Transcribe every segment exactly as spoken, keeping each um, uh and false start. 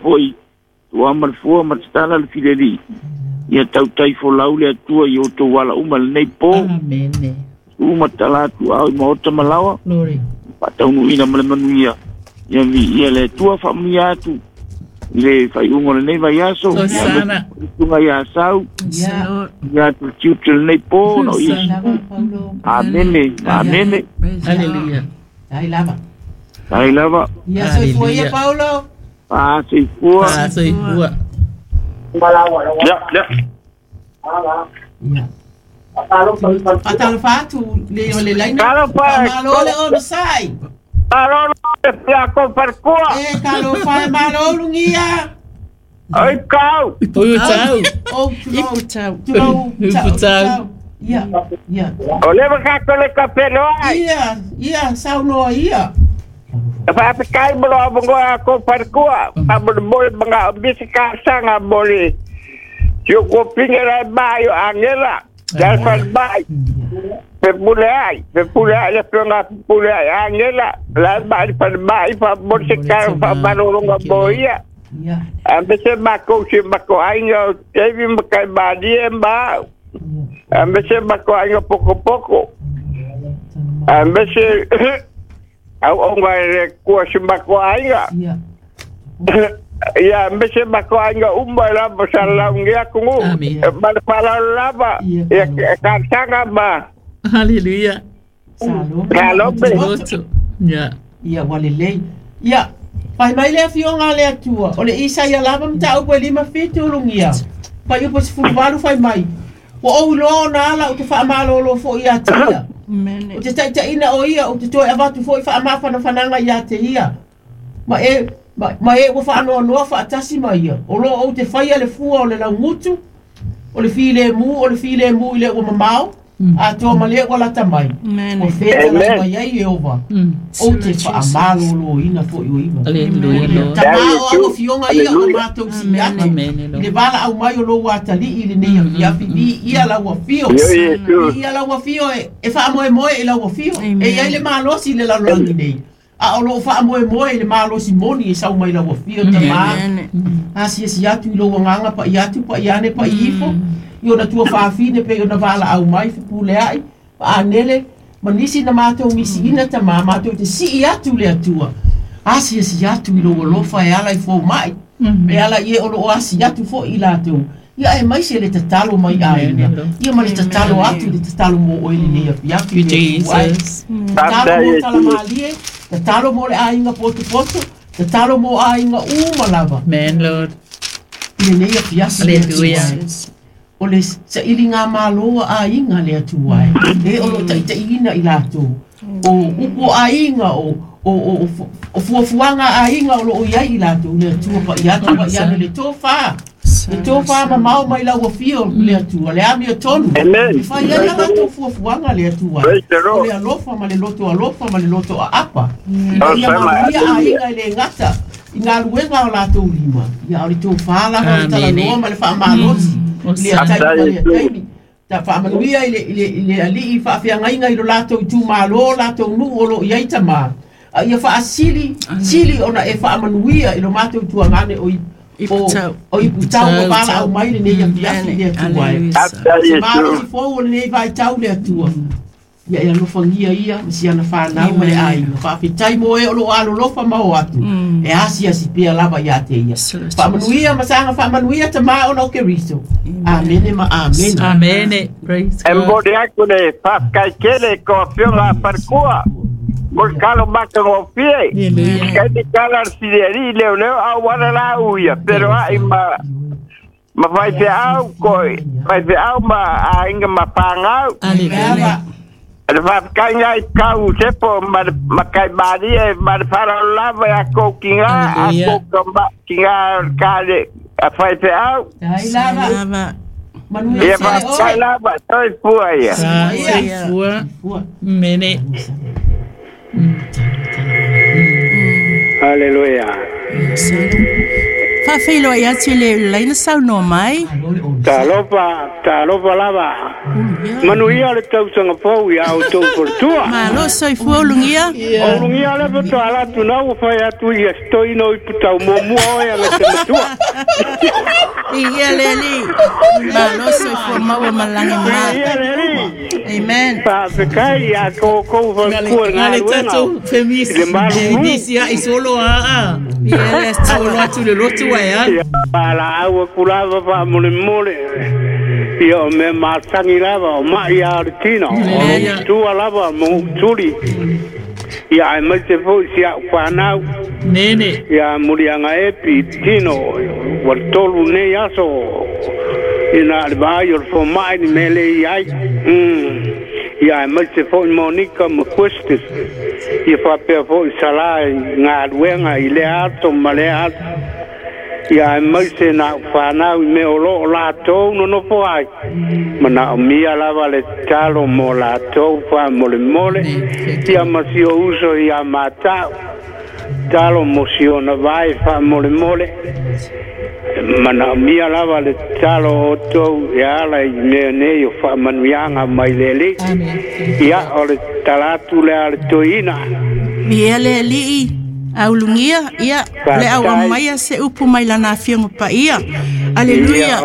Foi ua ma le fua ma tatala le fileli. Ia tautai folau le Atua i outou ala uma lenei po. Amene. Uma tala atu au i maota ma laoa. Glory. Faataunuuina ma le manuia. Ia viia le Atua, faamanuia atu i le faaiuga o lenei vaiaso. Hosana. Tuga ia Sau. Yeah. Ia atu le tiute lenei po na o Iesu. Amene, amene. Hallelujah. Ai lava. Ai lava. Ia soifua ia Paulo. Ah, soifua. Ah, soifua. Ya, ya. Ia. Fatalofa atu le o le laina. Talofa. Malo le ono sai. Malo le fia ko parkua. E talofa e malo lungia. Oi kau. Oi tau. O tulou. Tau. Tulou. Ipu tau. Ia. Ia. O le ka ko le ka pelo ai. Ia, ia saunoa ia. Fa fa kai mo lo bongo a ko parkua. Pa mo mo banga bisi ka sanga boli. Yo ko pingera ba yo angela. Dal fal bai. Pe pule ai, pe pule ai le pionga pule ai angela. La bai fal bai fa mo se ka fa malo longa boia. Ia. Ambe se mako se mako ainga tevi makai badi ba. Ambe se mako ainga poko poko. Ambe se au onga le kua se mako ainga. Ia. Ya ambe se mako ainga umba la bosala ngia kungu. Amen. Ba pala lava. Ya ka ba. Hallelujah. Salome. Salome. Loto. Yeah. Ia ua lelei. Ia, fai mai le afioga a le Atua. O le Isaia lava mataupu e lima fitu ulugia. Fai upu sefulu valu fai mai. Ua ou iloa ona ala ou te faamalōlō foʻi iā te ia. Amen. O te taitaʻina o ia ou te toe avatu foʻi faamafanafanaga iā te ia. Ma e ma, ma e ua faanoanoa faatasi ma ia. O loo ou te faia le fua o le laugutu, o le filemu, o le filemu i le ua mamao, atoa ma le ua lata mai. Amen. O feta Amen. lata mai ai Ieova. Mm. Ou te faamalōlōina foʻi o iva. Hallelujah, Lord. Tamā o au afioga ia o matou sii atu. Amen, I le Lord. vala au mai o lou atalii i lenei afiafi. Viia lau afio. Yo Yesu. Viia lau afio e, e faamoemoe i lau afio. Amen. E iai le malosi i le lalolagi nei. A o loo faamoemoe i le malosi moni e sau mai lau afio tamā. Amen. Asiasi atu i lou agaga pa'i atu pa'i ane pa'i ifo. I ona tua faafine pe i ona valaau mai fepuleai faanele ma nisi na matou misiina tamā matou te sii atu le Atua. Asiasi atu i lou alofa e ala i fomaʻi. E ala i e o loo asi atu foʻi i latou. Ia e maise le tatalo mai aiga. Ia ma le tatalo atu le tatalo mo oe lenei afiafi You le Atua e. Jesus. Tatalo mo talamalie, tatalo mo le aiga potopoto, tatalo mo aiga uma lava. Amen, Lord. I lenei afiafi le Atua Hallelujah. e. O le saili ngā māloa aiga le Atua e. E o loo taitaiina i latou. O upu aiga o o o o o fuafuaga aiga o loo iai i latou le Atua pa'i atu pa'i ane le tofā. Le tofā mamao mai lau afio le Atua. Le amio tonu. Amen. E fai ai a latou fuafuaga le Atua e. Praise the O Lord. le alofa ma le loto alofa ma le loto aapa. Ina ia Osama, manuia hallelujah. aiga i le gata i galuega o latou lima. Ia o le tofā lava o le Amene. talanoa ma le faamalosi. I le Osana. taimi ma le taimi. Ta faamanuia i le, i le, i le alii faafeagaiga i lo latou itumālō latou nuu o loo iai tamā. A ia faasili, sili ona e faamanuia i lo matou tuagane o i o, Iputau. o iputau o valaau mai lenei afiafi le Atua e. Hallelujah. After Se malosi Yesu. fou o lenei vaitau le Atua. Ia e alofagia ia ma siana fanau ma le aiga. Faafetai mo e o loo alolofa ma o atu. E asiasi pea lava iā te ia. Faamanuia ma saga faamanuia tamā ona o Keriso. Amene ma amene. Amene. Praise E God. mbori aku le whakakai kele ko afioga a parkua. Mo le kalo maka ngō fie. Hallelujah. Kai te kala siriari leo leo au wara la uia. Pero ai ma ma whai te au koi. Whai te au ma a inga ma pāngau. Hallelujah. Le whakakai ngai kau sepo ma, ma kai bari e ma le whara lava e a kou ki ngā a Hallelujah. kou kamba ki ngā kare a whai te au. Tai lava. Lava. Manuia Ia tele whakakai oe. lava toi pua ia. Ah, soifua. Fua. Mene. Hallelujah. Faafeiloai atu i le laina saunoa mai. Malo le ono. Talofa, talofa lava. Manuia le tausaga fou ia outou faletua. Malo soifua ulugia. O ulugia le faatoa ala atu na ua fai atu ia setoina o iputau muamua oe aga te matua. Ia le Alii. Malo soifua maua malagi ma. Ia le Alii. Amen. Faafetai ia koukou faletua i Ngale galuega. tatou femisi. I le malulu. Nisi ai solo a a. Ia le Solo atu le lotu ai a. Ia paalaau aku lava faamolemole. Ia o mea masagi lava o ma'i a o le tino. O tua lava mo tuli. Ia ai mai te foi si au whanau. Nene. Ia mulianga epi tino. Ua tolu nei aso. Ina le vai o le fomai ni mele i ai. Mm. Ia ai mai te foi Monica ma Questis. Ia whapea foi sala i ngā luenga i le ato ma le ato. Ia ai mai se na whanau i mea o loo lātou no nofo ai. Mana o mia lava le talo mo lātou wha mole mole. Ia ma si o uso ia mātau. Talo mo si o na vai wha mole mole. Mana o mia lava le talo o tau e ala i mea nei o wha manuianga mai lele. Ia o le talatu le a le toina. Ia le Alii. Aulungia, ia, le au amaia se upu mai lana afioga paia. Aleluia.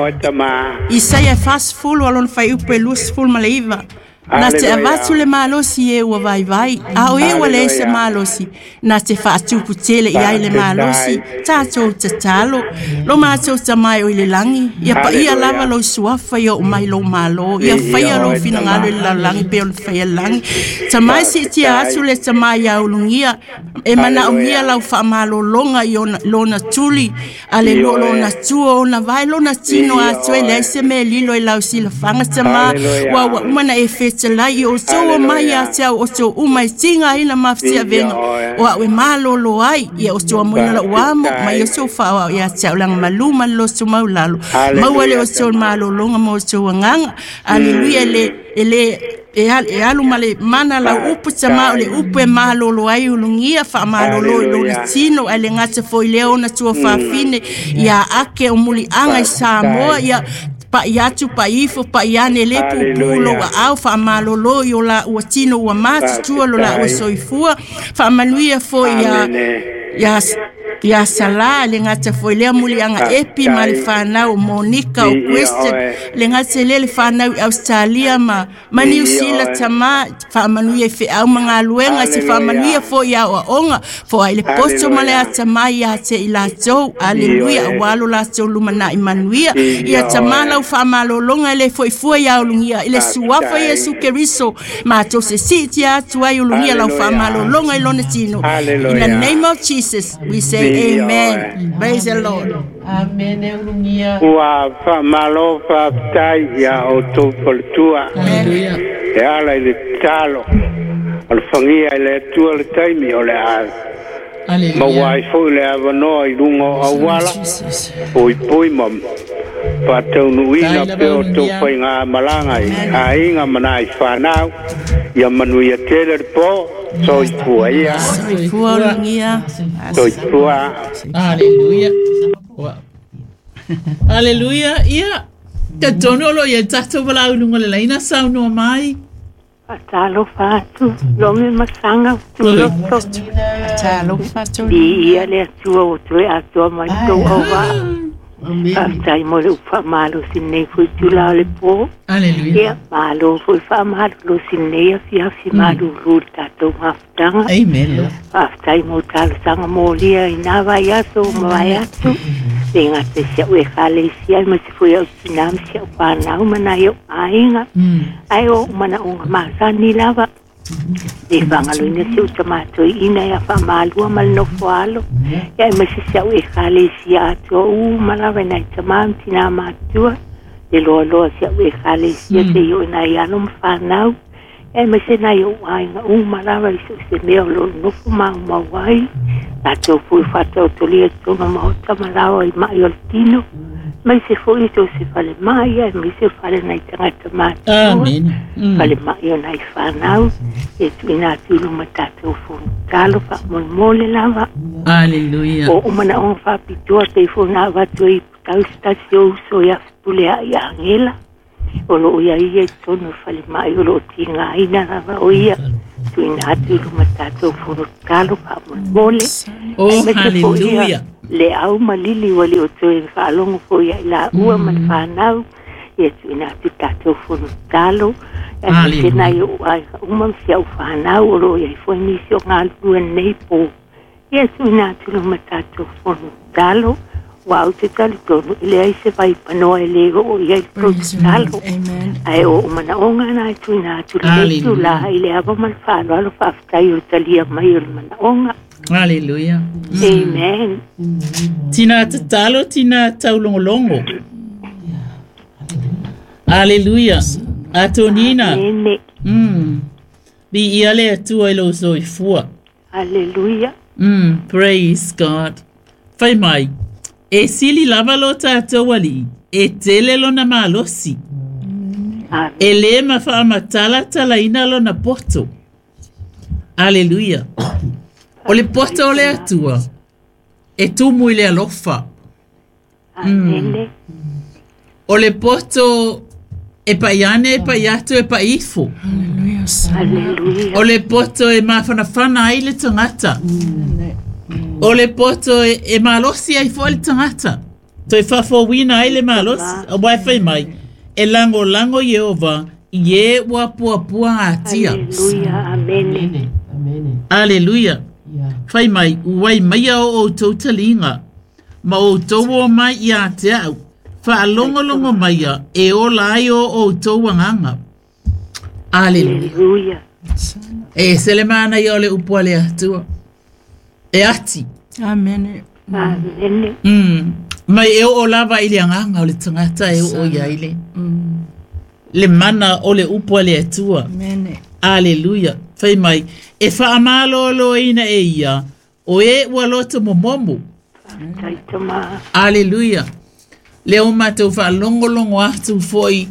Isaia fasefulu alona faiupu e luasefulu ma le iva. Na te avatu le malosi e ua vaivai, a o e ua le se malosi, na te faatupu tele i ai le malosi, tātou tatalo, lo mātou tamai o i le langi, ia paia lava lo suafa ia o mai lo malo, ia whaia lo finangalo i le lalagi pe o le whaia langi. Tamai si tia atu le tamai ia ulungia, e mana ungia lau whaamalolonga i ona, lona tuli, ale lo lona tua ona vai lona tino atu e le se me lilo i lau silafanga tama, wa wa umana e whete lai o tō mai a te au o tō umai tinga ina mawhtia venga o au e mālolo ai ia o tō amoina la uamo mai o tō whaoa ia te au langa malu malo tō maulalo maua le o tō mālolonga mo tō anganga. Aleluia le ele e alu ma le mana lau upu tama o le upu e mālolo ai ulungia whaamalolo i lona tino ai le ngata foi leo na tua whawhine ia ake o mulianga i Samoa ia pa i atu pa ifo pa i ane le pupu lo wa au whaamalolo i o la ua tino ua mātutua lo la ua soifua whaamanuia foi ia ia ia sala le ngata foi lea mulianga epi ma le whanau Monica o Question le ngata le le whanau i Australia ma ma New Zealand tama whaamanuia i wheau mga luenga se whaamanuia foi ia o onga fo ai le posto ma le atama ia te i lātou. Aleluia awalo lātou lumana i manuia ia tama lau whaamalolonga le foi fua ia ulungia i le suafa Yesu Keriso mātou se siti atu ai ulungia lau whaamalolonga i lona tino. In the name of Jesus we say amen. Praise the Lord. Amen. Ulungia. Ua whaamalo whaatai ia o tō faletua. Hallelujah. E ala i le talo. O le whangia i le atua le taimi o le a. Hallelujah. Maua ai foi le avanoa i lunga o awala. Pui pui ma whātaunuina pe o tō whai ngā malanga i ainga mana i whanau. Ia manuia tele le pō. Soifua ia. Soifua ulungia. Soifua. Hallelujah. Hallelujah. Ia. Te tono lo ia tatou wala ulunga le laina saunoa mai. Fatalo fatu, lomi masanga, tuloto. Fatalo fatu. Ia le atua o toe atua mai tau awa. Faafetai mo le upa malo sinei foi tula o le pō. Hallelujah. Ia malo foi whaamalo sinei afiafi malulu le tātou mafutaga. Amen. Faafetai mo talosaga molia i nā vai aso ma vai atu. Le ngata si au e kalesia ma si foi au tina ma si au whanau ma nai au aiga. Ai o mana unga masani lava. Le whangaloina si au tamatoi ina ia whamalua ma le nofo alo. Ia e masi si au e kalesia atua u malawa nai tamam tina matua. Le loa loa si au e kalesia te i o nai alo ma whanau. E masi nai au aiga u malawa i se mea o lo nofo mau mau ai. Tātou fui whātau tolia tōna mahota malawa i mai o le tino. Mai se foi tō se whale mai ai, mai se whale nei tangata mātua. Amen. Whale mai o nei whanau. E tuina tulu ma tātou fōnu talo wha mole lava. Hallelujah. O umana onga whapitoa te fōna watu i putau stasi o uso ia pule a i angela. O loo ia ia i tonu falemai o loo tigaina lava o ia tuuina atu i luma tatou fono tatalo faamolemole. Oh, Aemaise foi ia hallelujah. le au ma lili ua le o toe faalogo foi ia i laua ma le fanau ia tuuina atu tatou fono tatalo. Aemaise nai ou aiga uma ma si au fanau o loo iai foi nisi o galulue lenei po ia tuuina atu luma tatou fono tatalo. Ua au te talitonu e leai se vaipanoa e lē oo i ai le tou Praise your name. tatalo. Amen. Ae o ou manaoga na e tuuina atu lenei Hallelujah. tulaga i le ava ma le faaaloalo faafetai o le talia mai o le manaoga. Hallelujah. Amen. Tina tatalo, tina taulogologo. Hallelujah. Atonina. Amene. Mm. Viia le Atua i lou soifua. Aleluia. Mm, praise God. Fai mai, e sili lava lo tatou alii, e tele lona malosi. Amen. E lē mafaamatalatalaina lona poto. Aleluia. O le poto o le Atua, e tumu i le alofa. Amene. O le poto e paiane, e paiatu, e paifo. Hallelujah. Aleluia. O le poto e mafanafana ai le tagata. O le poto e, e malosi ai foi le tagata. Toe faafouina ai le malosi, auā e fai mai, e lagolago Ieova i e ua puapua atia. Aleluia. Amene. Amene. Amene. Aleluia. Ia. Fai mai, uai maia o outou taliga, ma outou o mai iā te a'u, faalogologo maia e ola ai o outou agaga. Aleluia. Aleluia. E se le manaia o le upu a le Atua. E ati. Amen. Amene. Mm. Mai e oo lava i le agaga o le tagata e oo iai le. Le mana o le upu a le Atua. Amen. Aleluia. Fai mai, e faamalōlōina e ia, o e ua loto momomo. Faafetai tama. Aleluia. Le o matou faalogologo atu foi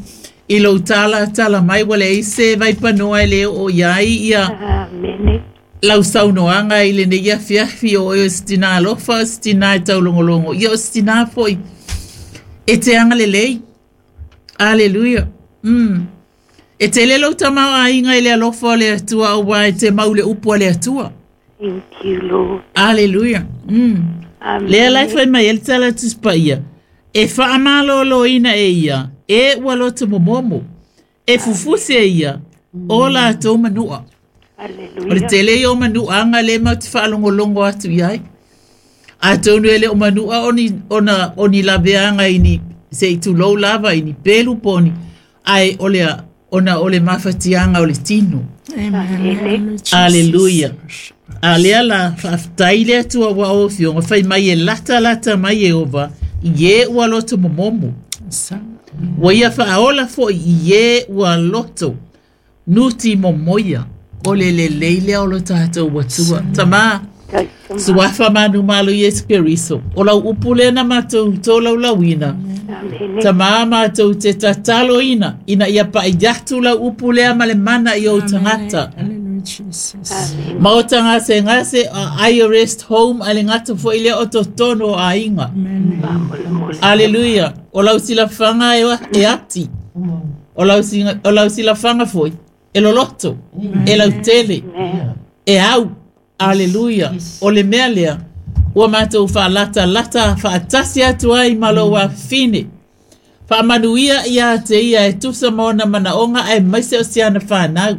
i lou talatala mai ua leai se vaipanoa e le oo iai ia Amene. lau saunoaga i lenei afiafi o oe o se tinā alofa o se tinā e taulogologo ia o se tinā foi e te agalelei. Aleluia. Mm. E tele lou tamaoaiga i le alofa o le Atua auā e te mau le upu a le Atua. Thank you, Lord. Aleluia. Mm. Lea la e Amene. fai mai ai le tala tusipaia, e faamalōlōina e ia, e ua loto momomo, e fufusi e ia, o latou manua. O le Aleluia. tele ia o manuaga lea matou te faalogologo atu iai. Atonu e le o manua o ni, ona, o ni laveaga i ni, se i tulou lava i ni pelu po o ni, ae o le, ona o le mafatiaga o le tino. Amen. Amene. Aleluia. A lea la faafetai le Atua ua o afioga fai mai e latalata mai Ieova i e ua loto momomo. Ua ia faaola foi i e ua loto nuti momoia. O le lelei lea o lo tatou Atua. Tamā, Tai tama. suafa manu malo Iesu Keriso. O lau upu lea na matou tolaulauina. Amene. Tamā matou te tataloina ina ia paʻi atu lau upu lea ma le mana i ou tagata. Hallelujah, Jesus. Amene. Ma o tagasegase a I rest home a le gata foi lea o totonu o aiga. Amen. Faamolemole. Aleluia. O lau silafaga e, e ati. O lau, singa, o lau silafaga foi e loloto, e lautele, Amen. e au. Aleluia. O le mea lea, ua matou faalatalata faatasi atu ai ma lou afafine. Faamanuia ia te ia e tusa ma ona manaoga aemaise o se ana fanau.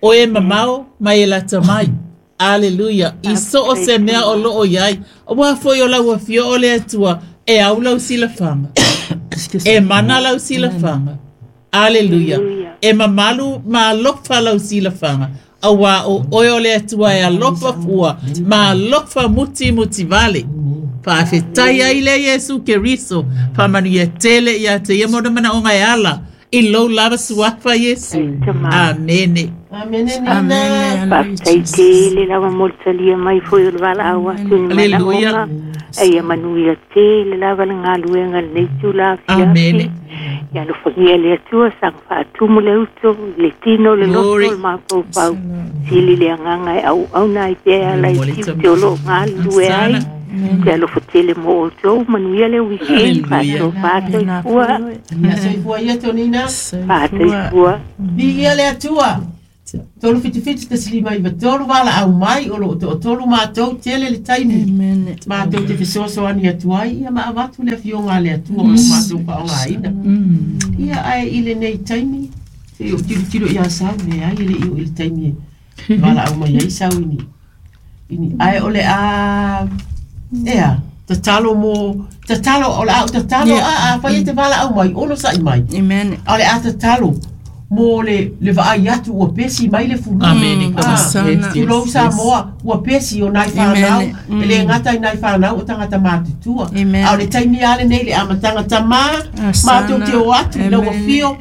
O e mamao ma e lata mai. Aleluia. I so o se mea o loo iai. Auā foi o lau afio o le Atua e au lau silafaga. E mana lau silafaga. Aleluia. Aleluia. E mamalu ma alofa lau silafaga. Auā o oe o le Atua e alofa fua ma alofa muti muti vale. Faafetai ai le Iesu Keriso. Faamanuia tele ia te ia ma ona manaoga e ala i lou lava suafa Iesu. Tama. Amene. Amene nina. Amen. Faafetai tele lava mo le talia mai foi o le valaau atu i ni Aleluia. manaoga. Aia manuia tele lava le galuega lenei tula afiafi. Amene. Ia alofagia le Atua saga faatumu le uto le tino le loto Glory. le mafaufau. Sili le agaga e auauna ai pea ala i Mole tiute o loo galulue ai. Sana. Te alofa tele mo outou, manuia le weekend, fa'atoa fa'atoifua. Ia soifua ia Tonina. Fa'atoifua. Viia le Atua. Tolu fitu fitu tasi lima iva tolu valaau mai o loo toatolu matou tele le taimi. Matou te fesoasoani atu ai ia ma avatu le afioga a le Atua o loo matou faaaogaina. Ia ae i lenei taimi se i ou tilotilo ia sau leai e le'i oo i le taimi e valaau mai ai sau ini ini ae o le a ea tatalo mo tatalo o le a ou tatalo a afai e te valaau mai ono sa'i mai. Amen. A o le a tatalo mo le le vaai atu ua pesi mai le fulu. Amen. Ah, Yes, yes, tulou yes. Samoa ua pesi o nai whanau Amen. e le ngata i nai whanau o tangata mātutua. Amen. A o le taimi ale nei le amataga tamā Asana. mātou te o atu i lau Amen. afio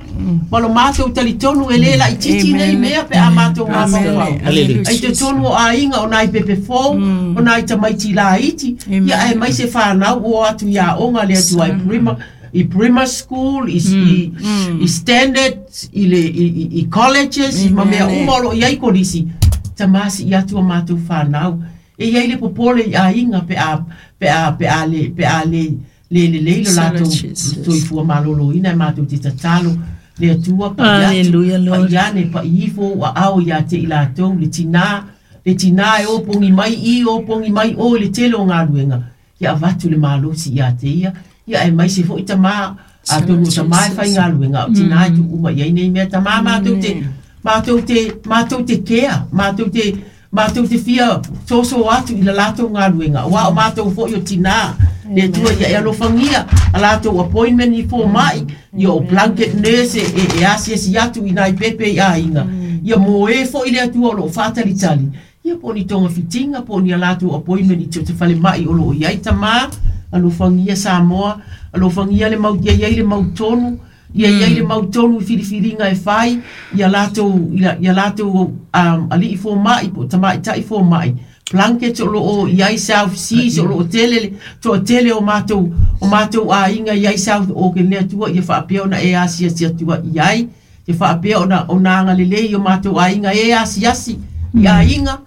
ma lo mātou talitonu e le laitiiti nei Amen. mea pe a mātou mafaufau. Hallelujah. Ai totonu o aiga o nai pepe fou, o nai tamaiti laiti, Amen. ia ae mai se whanau o atu i aoga le atu ai prima, i grammar school, i, i, i standard, i, le, i, i, i colleges, i ma mea Amen. uma o loo iai kolisi, tamasi i atu a mātou whanau. E iai le popole i aiga pe a, pe a, pe a le, pe a le, le le le lo latou Jesus. soifua malōlōina e mātou te tatalo le Atua pa'i atu, Hallelujah, Lord. pa'i ane pa'i ifo ua ao ia te i latou le tinā le tinā e opogi mai i opogi mai o i le tele o galuega ia avatu le malosi ia te ia ia e mai se fo'i tamā atonu o tamā e faigaluega a o tinā e tu'u mai ai nei mea tamā matou te matou te matou te kea matou te matou te fia soso atu i la latou galuega ua o matou fo'i o tinā le Atua ia e alofagia a latou appointment i foma'i ia o blanket nurse e, e asiasi atu i nai pepe i aiga ia mo e fo'i le Atua o loo fa'atalitali ia po o ni togafitiga po o ni a latou appointment i te te falema'i o loo iai tamā alofagia Samoa alofagia le mau ia iai le mautonu ia iai le mautonu i filifiliga e fai ia latou ia, ia latou um, ali'i foma'i po o tama'ita'i foma'i blanket o loo iai South Seas o loo tele le to'atele o matou o matou aiga iai South Auckland le Atua ia faapea ona e asiasi atua iai ia faapea ona ona agalelei o matou aiga e asiasi i aiga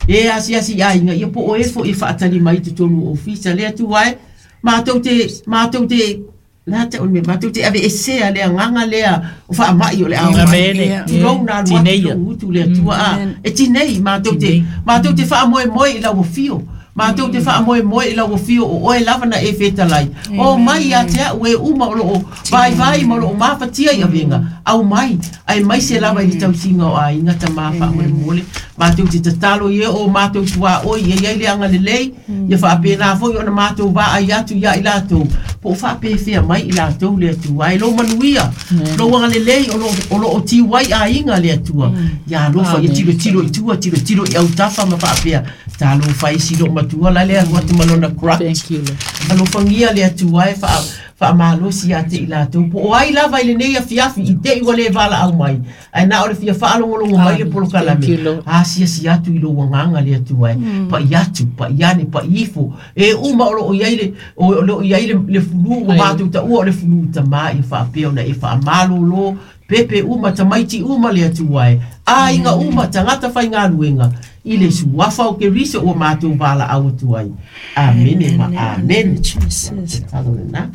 e asiasi i aiga ia po o e fo'i e fa'atali mai totonu o ofisa le Atua e matou te matou te la te o le mea matou te aveesea le agaga lea o fa'ama'i o le ao mai Amen. Yeah. tulou na alu atu Tineia. lou utu le Atua a e tinei matou te Tinei. matou te fa'amoemoe i lau afio matou te fa'amoemoe i lau afio o oe lava na e fetalai o mai ia te a'u e uma o loo vaivai ma o loo mafatia i avega au mai ae mai se lava i le tausiga o aiga tamā fa'amolemole matou te tatalo ia o matou tuā'oi ia iai le agalelei ia fa'apena foi ona matou vaai atu ia i latou po o fa'apefea mai i latou le Atua e lou manuia lou agalelei o loo- o loo tiu ai aiga le Atua ia alofa ia Amen. tilotilo i tua tilotilo i autafa ma fa'apea talofa ai si loo matua la le alu atu ma lona crutch Thank you, Lord. alofagia le Atua e fa'a fa'amalosi ia te i latou po o ai lava i lenei afiafi i te'i ua lē valaau mai ae na o le fia fa'alogologo mai le Amen. Thank you, polokalame Lord. asiasi atu i lou agaga le Atua e pa'i atu pa'i ane pa'i ifo e uma o loo iai le o o loo iai le, le fulū ua matou ta'ua o le fulū tamā ia fa'apea ona e fa'amalōlō pepe uma tamaiti uma le Atua e aiga uma tagata faigaluega i le suafa o Keriso ua matou valaau atu ai amene ma amene. Jesus. Tatalo lena.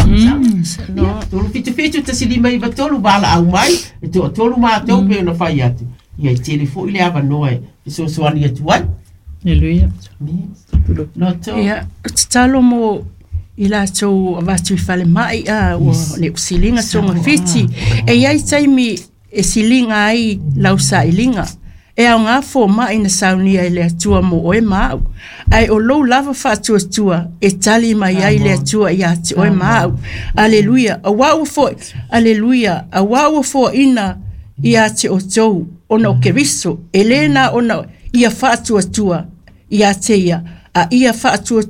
Ia, tolu fitu fitu tasi lima iva tolu valaau mai e toatolu matou pe ona fai atu ia e tele fo'i le avanoa e fesoasoani atu ai. Hallelujah. Loto. Ia, tatalo mo i latou avatu i falema'i a ua le usiliga togafiti. E iai taimi e siliga ai lau sa'iliga. E aogā foma'i na saunia e le Atua mo oe ma a'u. Ae o lou lava fa'atuatua e tali mai ai le Atua iā te oe ma a'u. Aleluia. Auā ua fo'i. Aleluia. Auā ua fo'aina iā te outou ona o Keriso. E lē na ona ia fa'atuatua iā te ia. A ia fa'atua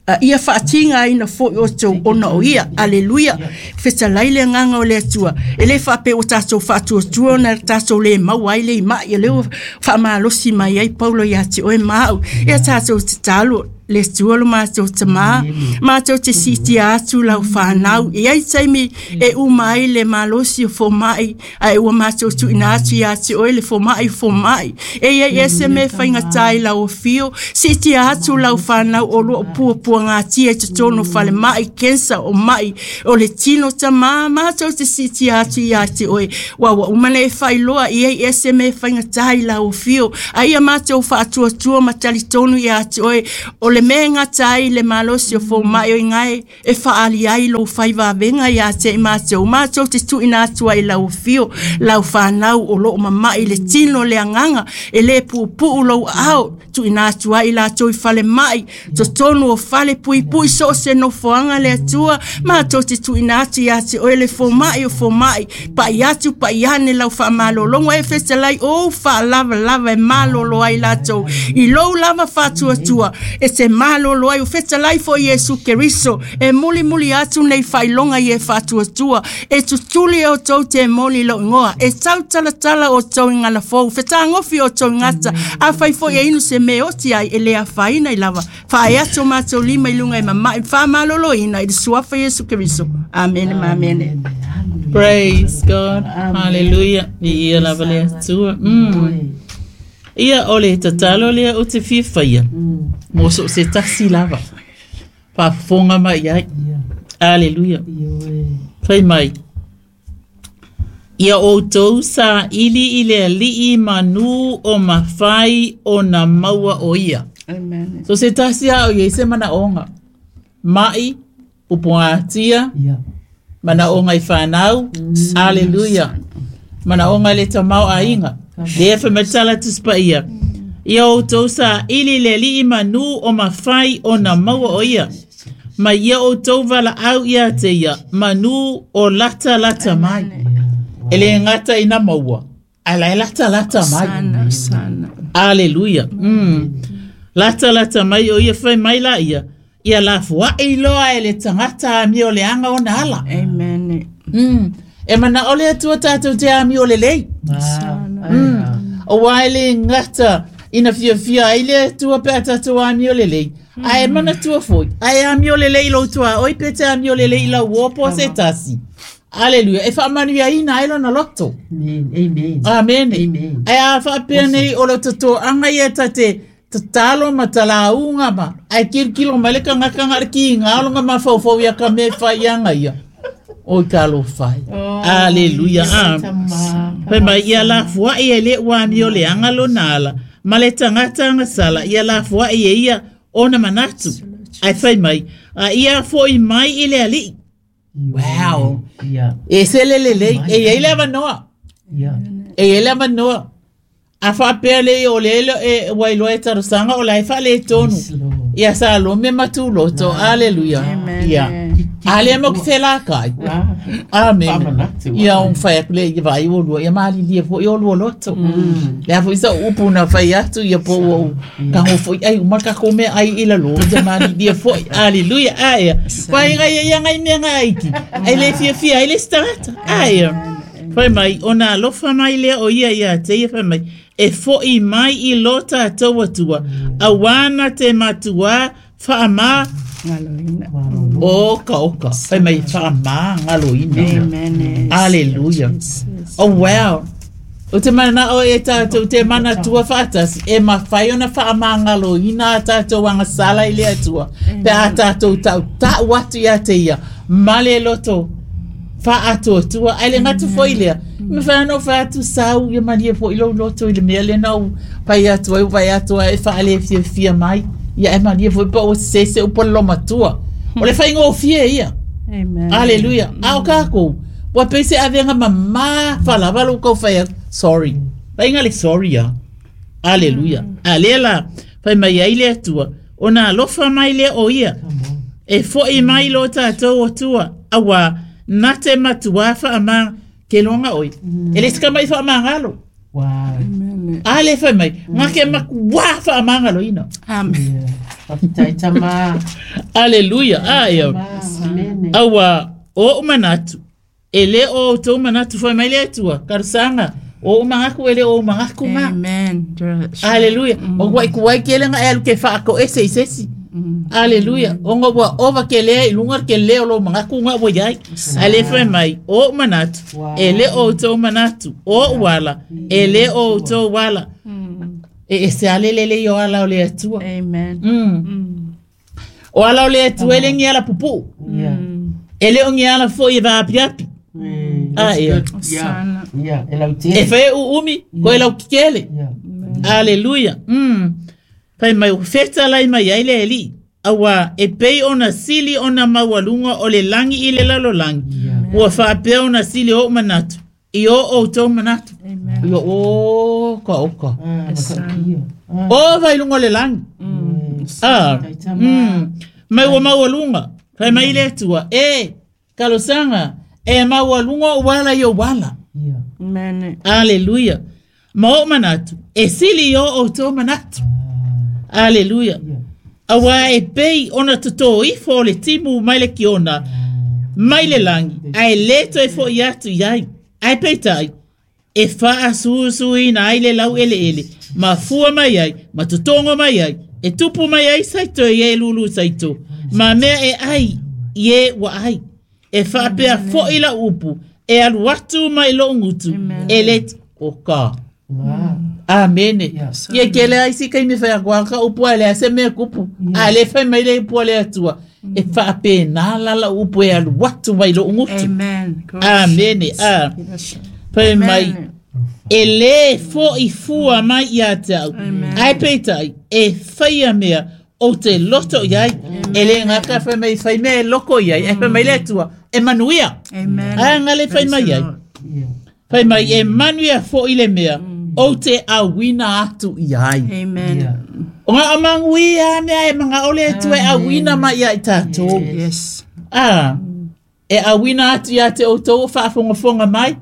a ia fa'atiga aina fo'i outou ona o ia. Aleluia. Fetalai le agaga o le Atua. E lē fa'apea ua tatou fa'atuatua ona tatou lē maua ai le ima'i e lea ua fa'amalosi mai ai Paulo iā te oe ma a'u. Ia tatou tatalo le Atua lo matou tamā matou te siitia atu lau fanau e ai taimi e uma ai le malosi o fomaʻi ae ua matou tuuina atu iā te oe le fomaʻi fomaʻi e iai ese mea faigatā i lau afio siitia atu lau fanau o loo puapuagatia i totonu o falemaʻi kensa o maʻi o le tino tamā matou te siitia atu iā te oe ua ua uma na e faailoa i ai ese mea faigatā i lau afio a ia matou faatuatua ma talitonu iā te oe o le mea e gata ai le malosi o fomaʻi o igae e faaali ai lou faivavega iā te i matou matou te tuuina atu ai lau afio lau fanau o loo mamaʻi le tino le agaga e lē puupuu lou aao tuuina atu ai latou i falemaʻi totonu o fale puipui so o se nofoaga le Atua matou te tuuina atu iā te oe le fomaʻi o fomaʻi paʻi atu paʻi ane lau faamalologa e fetalai ou faalavalava e malolo ai latou i lou lava faatuatua e te malolo ai o fetalai foi Iesu Keriso e mulimuli atu nei faailoga i e faatuatua e tutuli o tou temoni lou igoa e tautalatala o tou i galafou fetagofi o tou gata afai foi e inu se mea oti ai e lē afaina i lava faae atu o matou lima i luga e mamaʻi faamaloloina i le suafa Iesu Keriso. Amene ma amene. Praise God. Hallelujah. Ia lava le Atua. Mm. Ia o le tatalo lea o te fiafaia. Mo so se tasi lava. Faafofoga mai ai. Hallelujah. Fai mai. Ia outou saʻili i le alii manu o mafai o na maua o ia. Amen. So se tasi ao i se manaʻoga. Mai, pupuatia, manaʻoga i whanau. Hallelujah. Manaʻoga le tamau aiga. Lea whamatala tuspaia. Ia outou saʻili le alii manu o mafai o na maua o ia. Ma ia outou valaau ia te ia manu o lata lata mai. E le ngata ina maua. Ala e lata lata mai. Sana sana. Hallelujah. Mm. Lata lata mai o ia whai mai la ia. Ia la fuai loa e le tangata a mi o le anga o na ala. Amen. Mm. E mana ole atua tātou te ami o le lei. Sana. Mm. O wai le ngata ina fia fia ai le atua pe a tātou ami o le lei. Ae mana tua foi. Ae ami o le lei lo tua. Oi pe te ami o le lei la uopo se tasi. Hallelujah. E whaamanu ia ina ai lona loto. Amen. Amen. Amen. Amen. Ai a whaapea nei o lo toto anga ia tate tatalo ma talaunga ma. Ai kirikilo mai le kangakanga le ki ngā ma faufau ia ka me whai anga ia. O i ka lo whai. Hallelujah. Ah. Fai mai ia la fuai e le wami o le anga lo nala. Ma le tangata anga sala ia la fuai e ia ona manatu. Ai fai mai. A ia foi mai i le alii. Wow. Yeah. E se le le le. E ia le avanoa. Yeah. E ia le avanoa. A whaapea le o le elo e wailoa e tarosanga o la e whaale e tonu. Ia sa lo me matuloto. Hallelujah. Amen. Ia. Ale mo ki te lākai. Amen. Ia o whai aku le ia vai o lua. Ia maali lia fo i o lua loto. Le afo isa upu na whai atu ia po o ka ho fo i ai umaka ko me ai ila lo. Ia maali lia fo i. Hallelujah. Aia. Whai ngai ia ngai mea ngai aiki. Ai le fia fia ai le starata. Aia. Whai mai o nā lofa mai lea o ia ia te ia whai mai. E foi mai i lo tātou atua. Awana te matua whaama Ngaloina. Oka, oka. Whai mai whaama ngaloina. Amen. Hallelujah. Oh, wow. O te mana o e tātou te mana tua whaatasi. E mawhai ona whaama ngaloina a tātou anga sala i le atua. Pe a tātou tau tau atu ia te ia. Male loto. Whaatua tua. Ai le ngatu foi lea. Me whanau whaatu sau ia mania po i lo loto i le mea le nau. Pai atu ai pai atu ai whaale fia fia mai. Ia e mania foi pa o sese o polo matua. O le whainga o fia ia. Amen. Hallelujah. A o kākou. Wa pese avenga mama whalawalo kau whai. Sorry. Whainga le sorry ya. Hallelujah. Alela. Whai mai ai le atua. O nā lofa mai le o ia. E foi mai lo tātou o tua. Awa nā te matua whaamanga ke longa oi. E le sika mai whaamangalo. Wow. Amen. Ale whai mai. Ngā ke makua whaamangalo ina. Amen. Whakatai tama. Hallelujah. Aia. Amen. Awa o umanatu. E le o tō manatu whai mai le atua. Karusanga. O umangaku e le o umangaku ngā. Amen. Hallelujah. O wai kuai ke lenga e alu ke whaako ese i sesi. Aleluia. Onga ua ova ke lea i lunga ke leo lo mangaku nga ua iai. A le fai mai, o manatu, e le o tau manatu, o wala, e le o tau wala. E e se ale lele i o ala o le atua. Amen. Mm. O ala o le atua ele ngi ala pupu. Yeah. Ele o ngi ala fo i vaapiapi. Mm, Ah, that's yeah. good. Yeah. Yeah. E lau E tele. whae u umi, ko e lau kikele. Yeah. Aleluia. Mm. Pai mai feta lai mai ai le eli. Awa e pei ona sili ona maualuga o le lagi i le lalolagi. Yeah. Ua faapea ona sili o manatu. I o outou manatu. Amen. Ia o ka oka. Ah, matautia. Ah, O vai lunga o le lagi. mm. Ah. Taitama. Mm. Mai ua maualuga. Fai mai le Atua. E, kalosaga, e maualuga o wala i o wala. Yeah. Amen. Aleluia. Ma o manatu. E sili i o outou manatu. Aleluia. Yeah. Awa e pei ona toto ifo o le timu mai le kiona, mai le langi, ai le toe fo i atu iai. Ai peitai, e wha asusuina ai le lau ele ele, ma fua mai ai, ma totongo mai ai, e tupu mai ai saito i e lulu saito, ma mea e ai, i e wa ai. E whaapea fo i la upu, e alu atu mai lo ngutu, e le o ka. Ah. Amene. Yes. Ia ke le ai si kai me whai kwa ka upu a le ase mea kupu. A le whai mai le upu a le atua. E whaape nā lala upu e alu watu mai lo ungutu. Amen. Amene. A. Whai mai. E le fo i fua mai ia te au. Ai peitai. E whai a mea o te loto iai. E le ngaka whai mai whai mea e loko iai. E whai mai le atua. E manuia. Amen. A ngale whai mai ai. Yeah. Whai mai e manuia fo i le mea. O te awina atu iai. Amen. Yeah. O ngā amangui a mea e mga ole atu e awina mai ia i tātou. Yes. Ah, e awina atu ia te o tō whaafongafonga mai.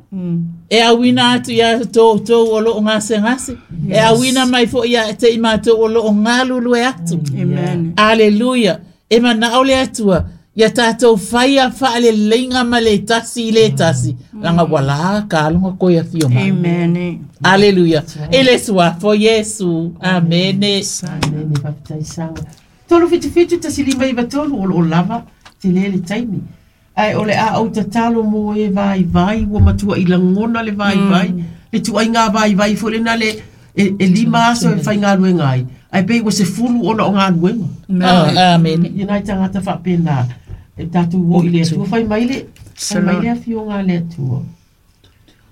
E awina atu ia te tō tō o loo ngase ngase. E awina mai fo ia te i mātou o loo ngalulu e atu. Amen. Aleluia. E mana ole atua. Ia tātou whaia whaale leinga ma le tasi i le tasi. Langa wala ka alunga koe a whio mai. Amen. Aleluia. E le suafo Yesu. Amene. Amene, whapitaisanga. Tolu whitu whitu tasi lima iwa tolu o o lava, te lele taimi. Ai o le a au tatalo mo e vai vai, ua matua i langona le vai vai, le tua i ngā vai vai fo le na le e, e lima aso e whai ngā luenga ai. Ai pei ua se fulu ona o ngā luenga. Ah, amene. Ia nai tangata whapena. E tātou o i le atua, whai mai le, whai mai le awhio ngā le atua.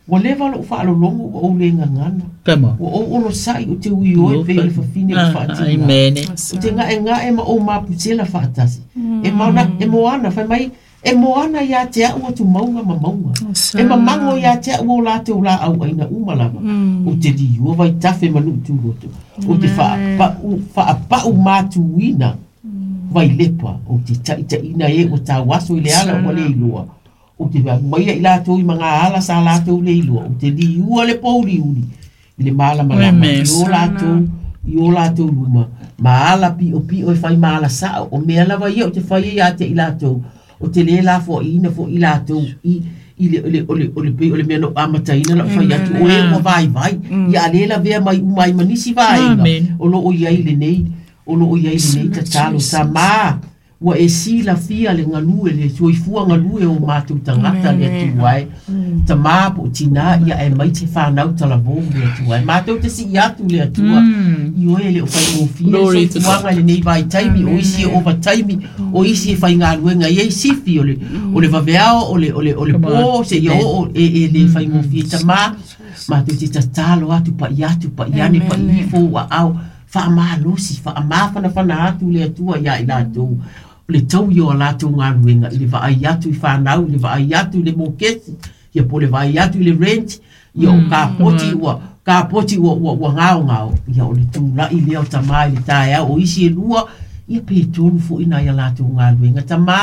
Ua lewa lo whaalolongo ua o le ngangana. Come on. Ua o ono sai o te ui oi pe o le whawhine o Ah, whaatinga. Amene. O te ngae ngae ma o maputela whaatasi. E mauna, e moana, whai mai, e moana ia te au atu maunga ma maunga. E mamango ia te au o la te o la au aina umalama. O te liua vai tafe manu tūroto. O te whaapau, whaapau mātuina vai lepa. O te taitaina e o tā waso i le ala o le iloa. O te maia i lātou i mga ala sa lātou le iloa. O te liua le pouli uli. I le malama lama. Amen. I o lātou, i o lātou luma. Ma ala pio pio e whai maala sao. O mea lava ia o te whai ia te i lātou. O te le la fo i ina fo i lātou. I, i le, o le, o le, o le, pe- o le mea no amataina la whai atu. O e ua vai vai. Ia le la vea mai umai manisi vaenga. Amen. O lo o iai le nei. O lo o iai le nei tatalo. Sa mā. Ua e si la fia le ngalue le soifua ngalue o mātou tangata le atua e. Ta mā po tina ia e mai te whānau talavou le atua e. Mātou te si i atu le atua. I oe le o whai mōfia Glory to soifuaga le nei vai taimi o isi e ova taimi o isi e whai ngā luenga i ei sifi o le, o le vaveao o le, o le, o le Come pō on. se ia o e, e le whai mōfia ta mā mātou te tatalo atu pa i atu pa i ane pa i ifo ua au whaamalosi whaamawhanawhana atu le atua ia i lātou o le tau i o lātou ngā luenga i le vaai atu i whānau i le vaai atu i le mōkesi ia po le vaai atu i le rent ia o ka poti ua ka poti ua ua ua ngao ngao ia o le tūla'i lea o tamā i le taeao o isi e lua ia pe tolu fo'i nai a latou galuega tamā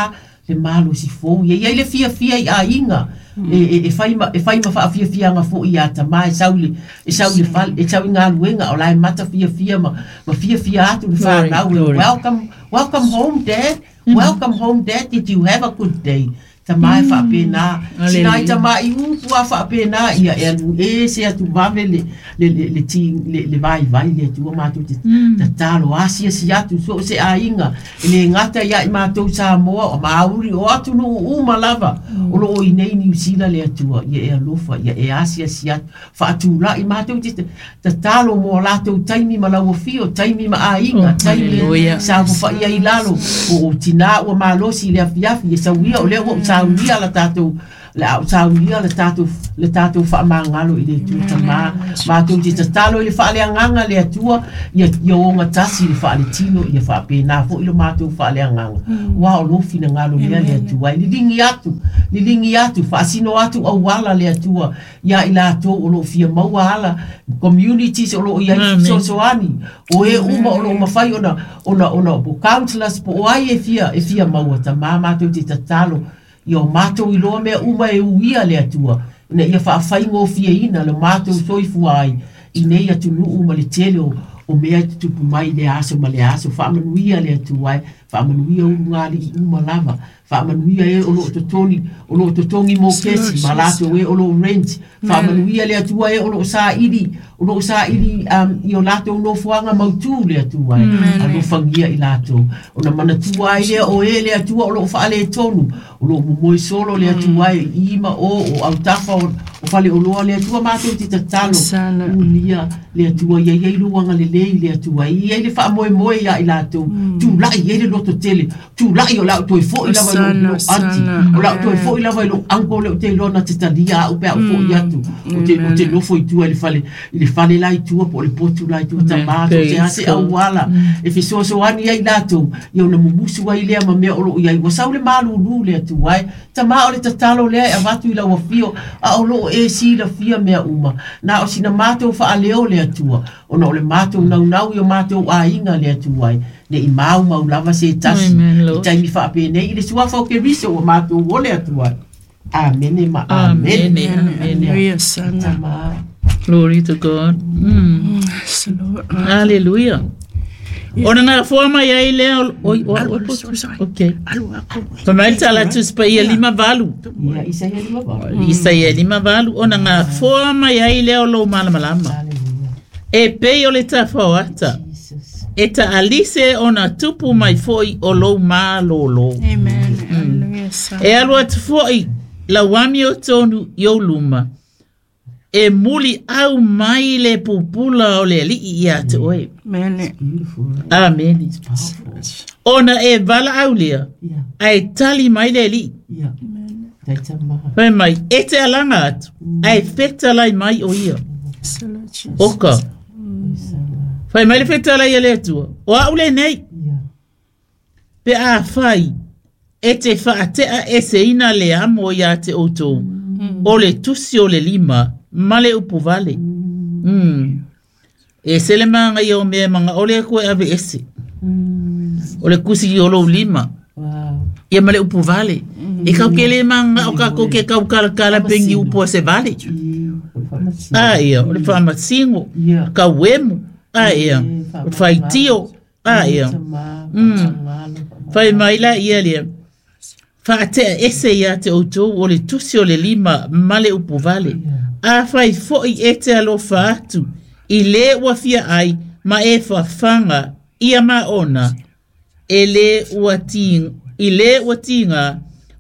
le malosi fou ia ia i le fiafia i aiga e, e, e fai ma, e fai ma faafiafiaga fo'i iā tamā e sau i le e sau i le fale e sau i galuega o lae mata fiafia ma, ma fiafia atu le whanau Glory, glory. welcome welcome home dad welcome home dad did you have a good day Tamā e whaapena. Sina i tamā i upu a whaapena ia e alu e se atu vave le le le le ti le le vai vai le atua mātou te tatalo asia si atu so se ainga le ngata ia i mātou Samoa o Maori o atu no uma lava o lo o i nei New Zealand le atua ia e alofa ia e asia si atu whaatula i mātou te tatalo mo lātou taimi ma lau fio taimi ma ainga taimi sa fa ia i lalo o tina ua malosi le afiafi e sauia o lea ua saunia la tātou la saunia le tātou le tātou whaamangalo i le atua tamā mātou te tatalo i le whaaleanganga le atua ia ia onga tasi le whaaletino ia whaapena fo i lo mātou whaaleanganga wa o lo finangalo lea le atua i lilingi atu lilingi atu whaasino atu auala le atua ia i lātou o lo fia maua ala communities o lo ia sosoani o e uma o lo mawhai ona ona ona po counselors po o ai e fia e fia maua tamā mātou te tatalo ia o mātou i loa mea uma e uia le atua ina ia whaawhaingo fia ina le mātou soifua ai i nei atunuu ma le tele o, o mea i tutupu mai le aso ma le aso whaamanuia le atua ai whaamanuia ulu i uma lava whaamanuia e o loo totoni o loo totongi mō kesi ma lātou e o loo rent whaamanuia le atua e o loo saili o loo saili um, i o lātou nofoanga mautū le atua e alofangia i lātou ona manatua ai lea o e le atua o loo whaale tonu o loo momoe solo le atua e ima o o autafa o, o fale o loa le atua mātou te tatalo unia le atua ia ia i luanga le lei le atua ia i le whaamoemoe ia i lātou tūlai ia le loto tele tūlai o lau toi fo i lava i lo anti o lau toi fo i lava i lo anko le o te lona te talia au pea o fo i atu o te, o te nofo i tua i le fale i le fale la i tua po o le potu la i tua tamā te ase auala e fesoasoani ai lātou ia ona mumusu ai lea ma mea o loo iai ua sau le malūlū le atua ai tamā o le tatalo lea e avatu i lau afio a o loo e silafia mea uma na o sina mātou faaleo le atua ona o le mātou naunau i o mātou aiga le atua ai ne i mau mau lava se tasi i taimi whaapenei i le suafa o ke riso o mātou o le atua. Amene ma amene. Hallelujah, sana. Glory to God. Mm. Hallelujah. Ona ngā foa mai ai lea oi oi okay. Fa mai tala tuspa ia lima valu. Ia Isaia lima valu. Isaia lima valu ona ngā foa mai ai lea o lo malamalama. E pei o le tawhawata. E ta alise ona tupu mai foi o lou malolo. Amen. Mm. E alu atu foi lauami o tonu i o luma. E muli au mai le pupula o le alii ia te oe. Amen. Amen. Ona e vala au lea. Ae tali mai le alii. Fai mai, e te alanga atu. Ae fetalai mai o ia. Oka. Fai mai le fetalai a le atua. O au le nei. Pe a whai, e te whaatea e se ina le amo ia te outou. O le tusi o le lima, ma le upu vale. Mm. E se le manga ia o mea manga o le koe ave ese. O le kusi o lou lima. Ia ma le upu vale. E kau ke le manga o kako ke kau kala kala pengi upu a se vale. Ah ia, o le whaamasingo, kau emu. Ah ia, o whaitio. Ah ia. Mm. Whai mai la ia lea. Whaatea ese ia te outou o le tusi o le lima ma le upu vale. A whai foi e te alofa atu i le ua fia ai ma e whawhanga ia ma ona e le ua tinga, i le ua tinga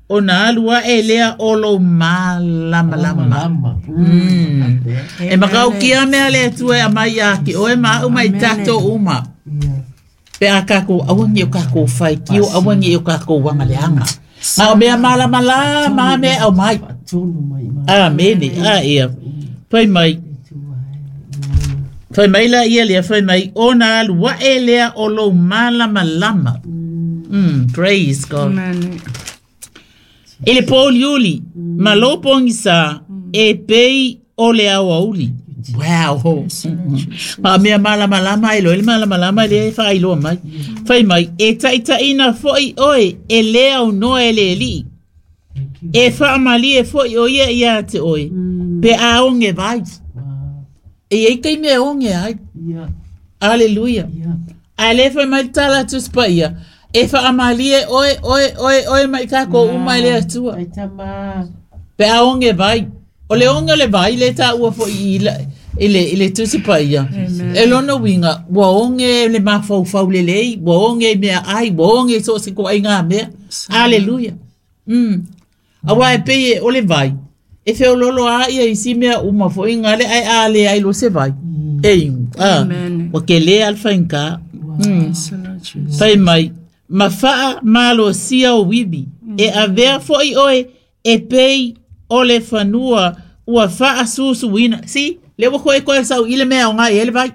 o nā alua e lea o lo malamalama. Mm. E makau kia mea le atua e amai a ki oe ma au mai tātou uma. Pe a kako awangi o kako whai ki o awangi o kako wanga leanga. Ngā o mea malamalama ma mea au mai. Amene, a ia. Whai mai. Whai mai la ia lea, whai mai. O nā alua e lea o lo malamalama. Mm, praise God. Amen. E le pōliuli, ma lo pongisa, e pei o le awauli. Wow. Ma mea malamalama e lo, ele malamalama e le whailoa mai. Whai mai, e taitaina foi oe, e lea o noa e le li. E whaamali e foi o ia ia te oe. Pe a onge vai. E e kei mea onge ai. Hallelujah. A le whai mai tala tuspa ia. E whaamalie oe, oe, oe, oe mai kako uma le atua. Pe a onge vai. O le onge le vai le tā ua fo i le, i le tusi paia. E lona winga, ua onge le mawhau le lei, ua onge mea ai, ua onge so se ko ai ngā mea. Aleluia. Mm. Awa e peye o le vai. E whiololo a ia isi mea uma fo inga le ai a le ai lo se vai. E ingu. Wa ke le alfa inka. Mm. Fai mai. Ma faa malo sia o wibi. E avea fo i oe e pei o le fanua ua faa susuina. Si, le wa koe koe sau ile mea o ngai ele vai.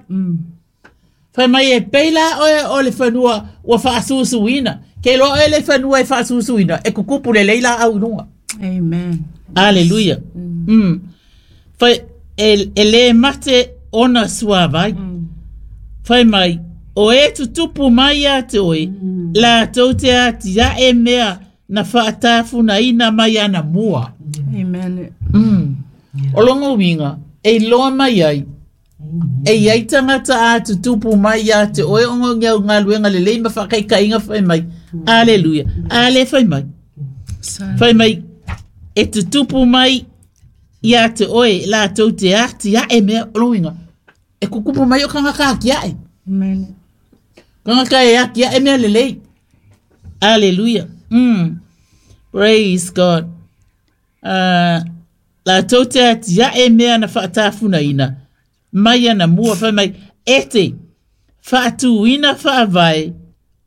Fai mai e pei la oe o le fanua ua faa susuina. Ke lo ele fanua e faa susuina. E kukupu le leila au inunga. Amen. Aleluia. Mm. Mm. Fai e, e le mate ona suavai. Mm. Fai mai o e tutupu mai a te oe. Mm. La tau te ati a e mea na whaatafuna ina mai ana mua. Amen. Mm. Yeah. O longo winga, e loa mai ai. E iai tangata a tutupu mai a te oe ongo ngau ngaluenga le leima whakaikainga whai mai. Aleluia. Ale whai mai. Whai mai, e tutupu mai ia te oe la tau te ati a e mea o longo winga. E kukupu mai o kangaka aki a e. Amen. Kangaka e aki a e mea le lei. Aleluia. Mm. Praise God. Uh, la tau te ati a e mea na whaatafuna ina. Mai ana mua whai mai. Ete, whaatuina whaavai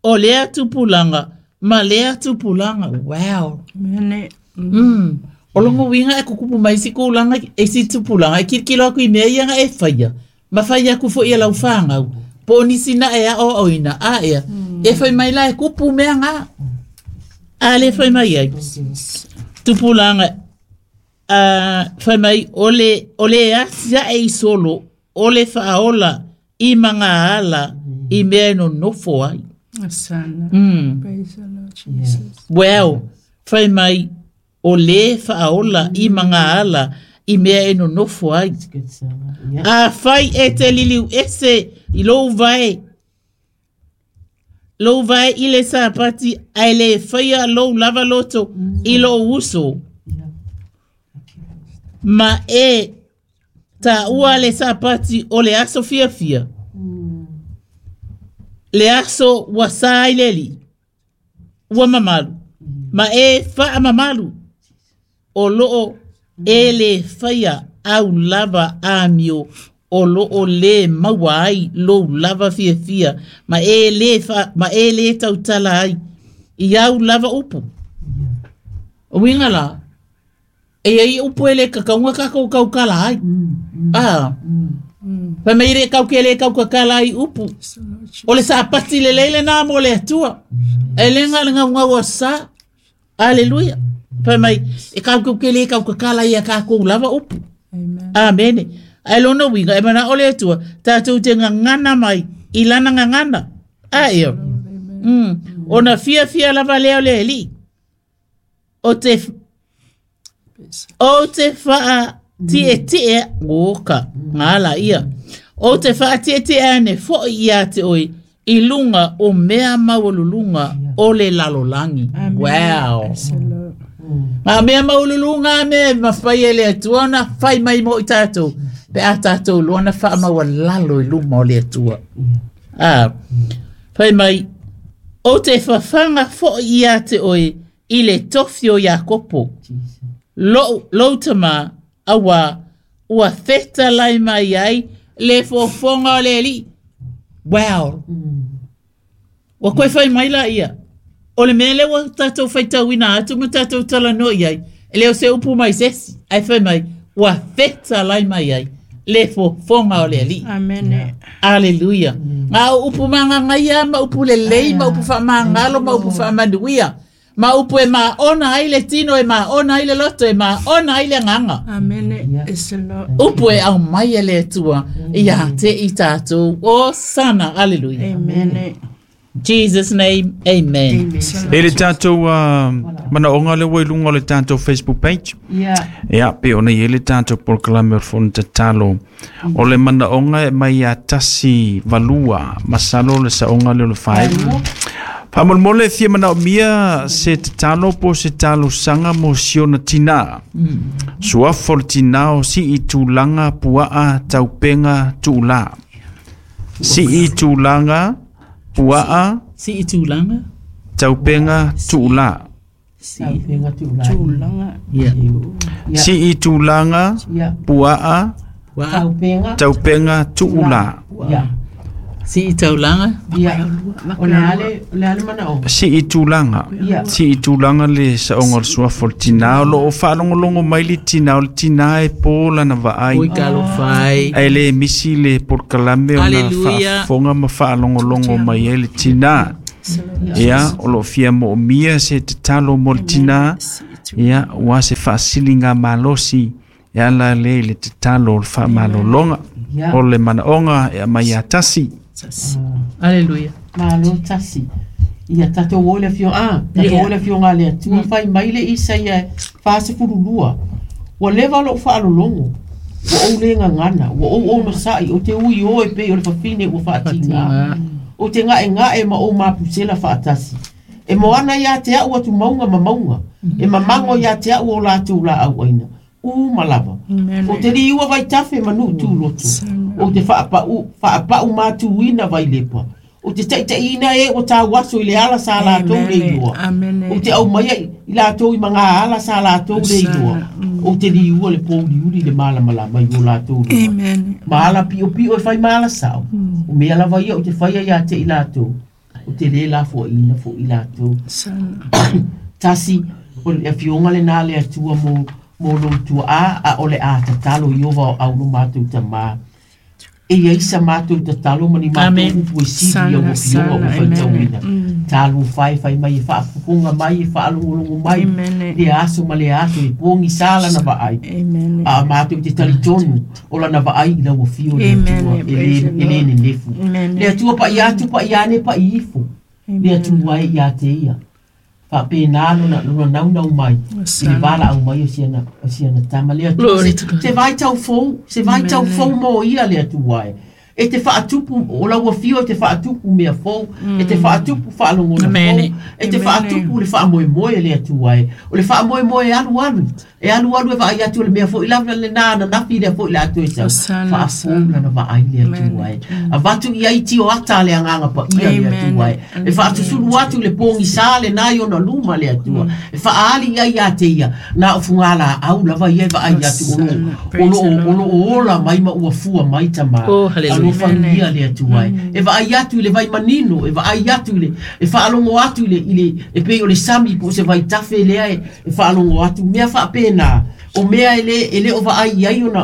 o lea tupulanga, ma lea tupulanga. Wow. Amen. Mm. O longo winga e kukupu mai si kūlanga e si tupulanga. E kirikilo aku i mea ianga e whaia. Ma whaia aku fo ia lau whangau. Po nisi na ea o oina. A ea. Mm. E whai mai la e kupu mea ngā. A le whai mai ai. Tupulanga. Uh, whai mai ole, ole atia e isolo. Ole whaola i manga ala i mea no nofo ai. Asana. Mm. Praise the Lord Jesus. Well, whai mai o le whaola i manga ala i mea e no nofo ai. A whai e te liliu ese i lou vai. Lou vai i le sapati ai le whaia lou lava loto i lou uso. Ma e ta ua le sapati o le aso fia fia. Le aso wa sa i leli. Ua mamalu. Ma e wha mamalu. O loo e le whaia au lava amio. O loo le maua ai lou lava fia fia. Ma e le, wha, ma e le tautala ai. I au lava upu. O winga la. E ai upu ele kakaunga kakau kaukala ai. Ah. Pai mai re kau ke le kau kakala ai upu. O le sapati le leile nā mo le atua. E le ngā ngau ngau sa. Aleluia. Pai mai e kau kau ke le kau kakala ia kākou lava upu. Amen. Amen. Ai lona winga e mana o le atua. Tātou te ngangana mai i lana ngangana. A eo. Mm. Ona fia fia lava leo le li. O te o te whaa tie tie oka ngā ia. O te whaa tie tie ane fo ia te oi i lunga o mea maualulunga o le lalolangi. Wow. Ngā mea maualulunga me mawhai e le atua na whai mai mo i tātou. Pe a tātou luana wha maualalo i luma o le atua. Ah. Whai mai o te whawhanga fo ia te oi i le tofi o Iakopo. Lo, lo tama awa ua theta lai mai ai le fofonga o le li. Wow. Wa koe whai mai la ia. O le mea le wa tātou whaitauina atu ma tātou tala no iai. E leo se upu mai sesi. Ai whai mai ua theta lai mai ai le fofonga o le li. Amen. Yeah. Aleluia. Mm. Ngā upu manga ngaia, ma upu le lei, ma upu whamangalo, ma upu whamanuia. Ma upu e ma ona ai le tino, e ma ona ai le loto, e ma ona ai le nganga. Amen. Yeah. It's the Lord. Upu e au mai e le atua, ia te i tātou. O sana, aleluia. Amen. Jesus name, amen. E le tātou uh, manaonga le ua i luga o le tātou Facebook page. Ia. Ia, pe ona i e le tātou polokalame o le fono tatalo. O le manaonga e mai ia tasi valua, masalo le saonga le o le fae. Faamolemole e fia manaomia se tatalo po o se talosaga mo siona tinā. Suafa o le tinā o sii tulaga puaa taupega tuulā. Sii tulaga puaa Sii tulaga taupega tuulā. Taupenga tuulā. Tulaga. Ia. Ia. Sii tulaga Ia. puaa Wa Taupenga. taupega tuulā. Ia. sii taulaga Ia. O le ale, o le ale manaoga. Sii tulaga. Ia. Sii tulaga le saoga o le suafa o le tinā. O loo faalogologo mai le tinā o le tinā e pō lana vaai. Oi kalofai. Ae lē misi le polokalame ona Hallelujah. faafofoga ma faalogologo mai ai le tinā. Ia, o loo fia moomia se tatalo mo le tinā. Ia, ua se faasiliga malosi e ala lea i le tatalo o le faamalologa. Ia. O le manaoga e aumai ia tasi. Hallelujah. Malo tasi. Ia tatou o le afioga, ah, tatou o le afioga a le Atua fai mai le Isaia fasefululua. Ua leva lou faalologo, ua ou le gagana, ua ou onosa'i, o te ui o e pei o le fafine ua faatigā. O te ga'ega'e ma ou mapusela faatasi. E moana iā te a'u atumauga ma mauga, e mamago iā te a'u o latou laau aina, u ma lava. O te liua vaitafe ma nuu tuloto, o te faapa'u faapa'u matuina vailepa. O te ta'ita'iina e ua tauaso i le ala sa latou le iloa. Amene. O te aumaia i latou i magā ala sa latou le iloa. O te liua le pouliuli le malamalama i o latou luma. Amen. Ma ala pi'opi'o e fai ma ala sa'o. O mea lava ia o te faia iā te i latou. O te lē lafoaʻina foʻi latou. Sana. Tasi, o le afioga lenā le Atua mo mo lou tuaʻā a o le a tatalo i ova o au lo matou tamā. E iai sa matou tatalo ma ni matou Amen. upu e sili ia ua fioga ua Sana, faitauina. amen. Talofa e fai mai e faafofoga mai e faalogologo mai Amen. le aso ma le aso e pogisā lana vaai. Amen. A matou te talitonu o lana vaai i lau afio le Amen. Atua e Praise lē the e lē Lord. nenefu. Amen. Le Atua paia atu paia ane paia ifo. Le Atua e iā te ia. Faapena lona lona naunau mai i le valaau mai o siana o siana tama le Atua Glory se, to God. se vaitau fou se vaitau fou mo ia le Atua e. E te faatupu o lau afio e te faatupu mea fou, e te faatupu faalogona Amen. fou, e te Amen. faatupu le faamoemoe le Atua e. O le faamoemoe e alualu, e alualu e vaai atu o le mea foʻi lava lenā ananafi lea foʻi le atu e sau. Osana, Faafou lana vaai le Atua e. Avatu i ai tio ata le agaga paia le Amen. Atua e. E faatusulu atu le pogisā lenā i ona luma le Atua. E faaali i ai iā te ia, na o fugalaau lava ia e vaai atu o loo- o loo- o loo ola mai ma ua fua mai tamā. Oh, hallelujah. Alofagia le Atua e. E vaai atu i le vaimanino, e vaai atu i le, e faalogo atu i le, i le, e pei o le sami po o se vaitafe lea e, e faalogo atu, mea faapena, o mea e le, e le o vaai i ai ona,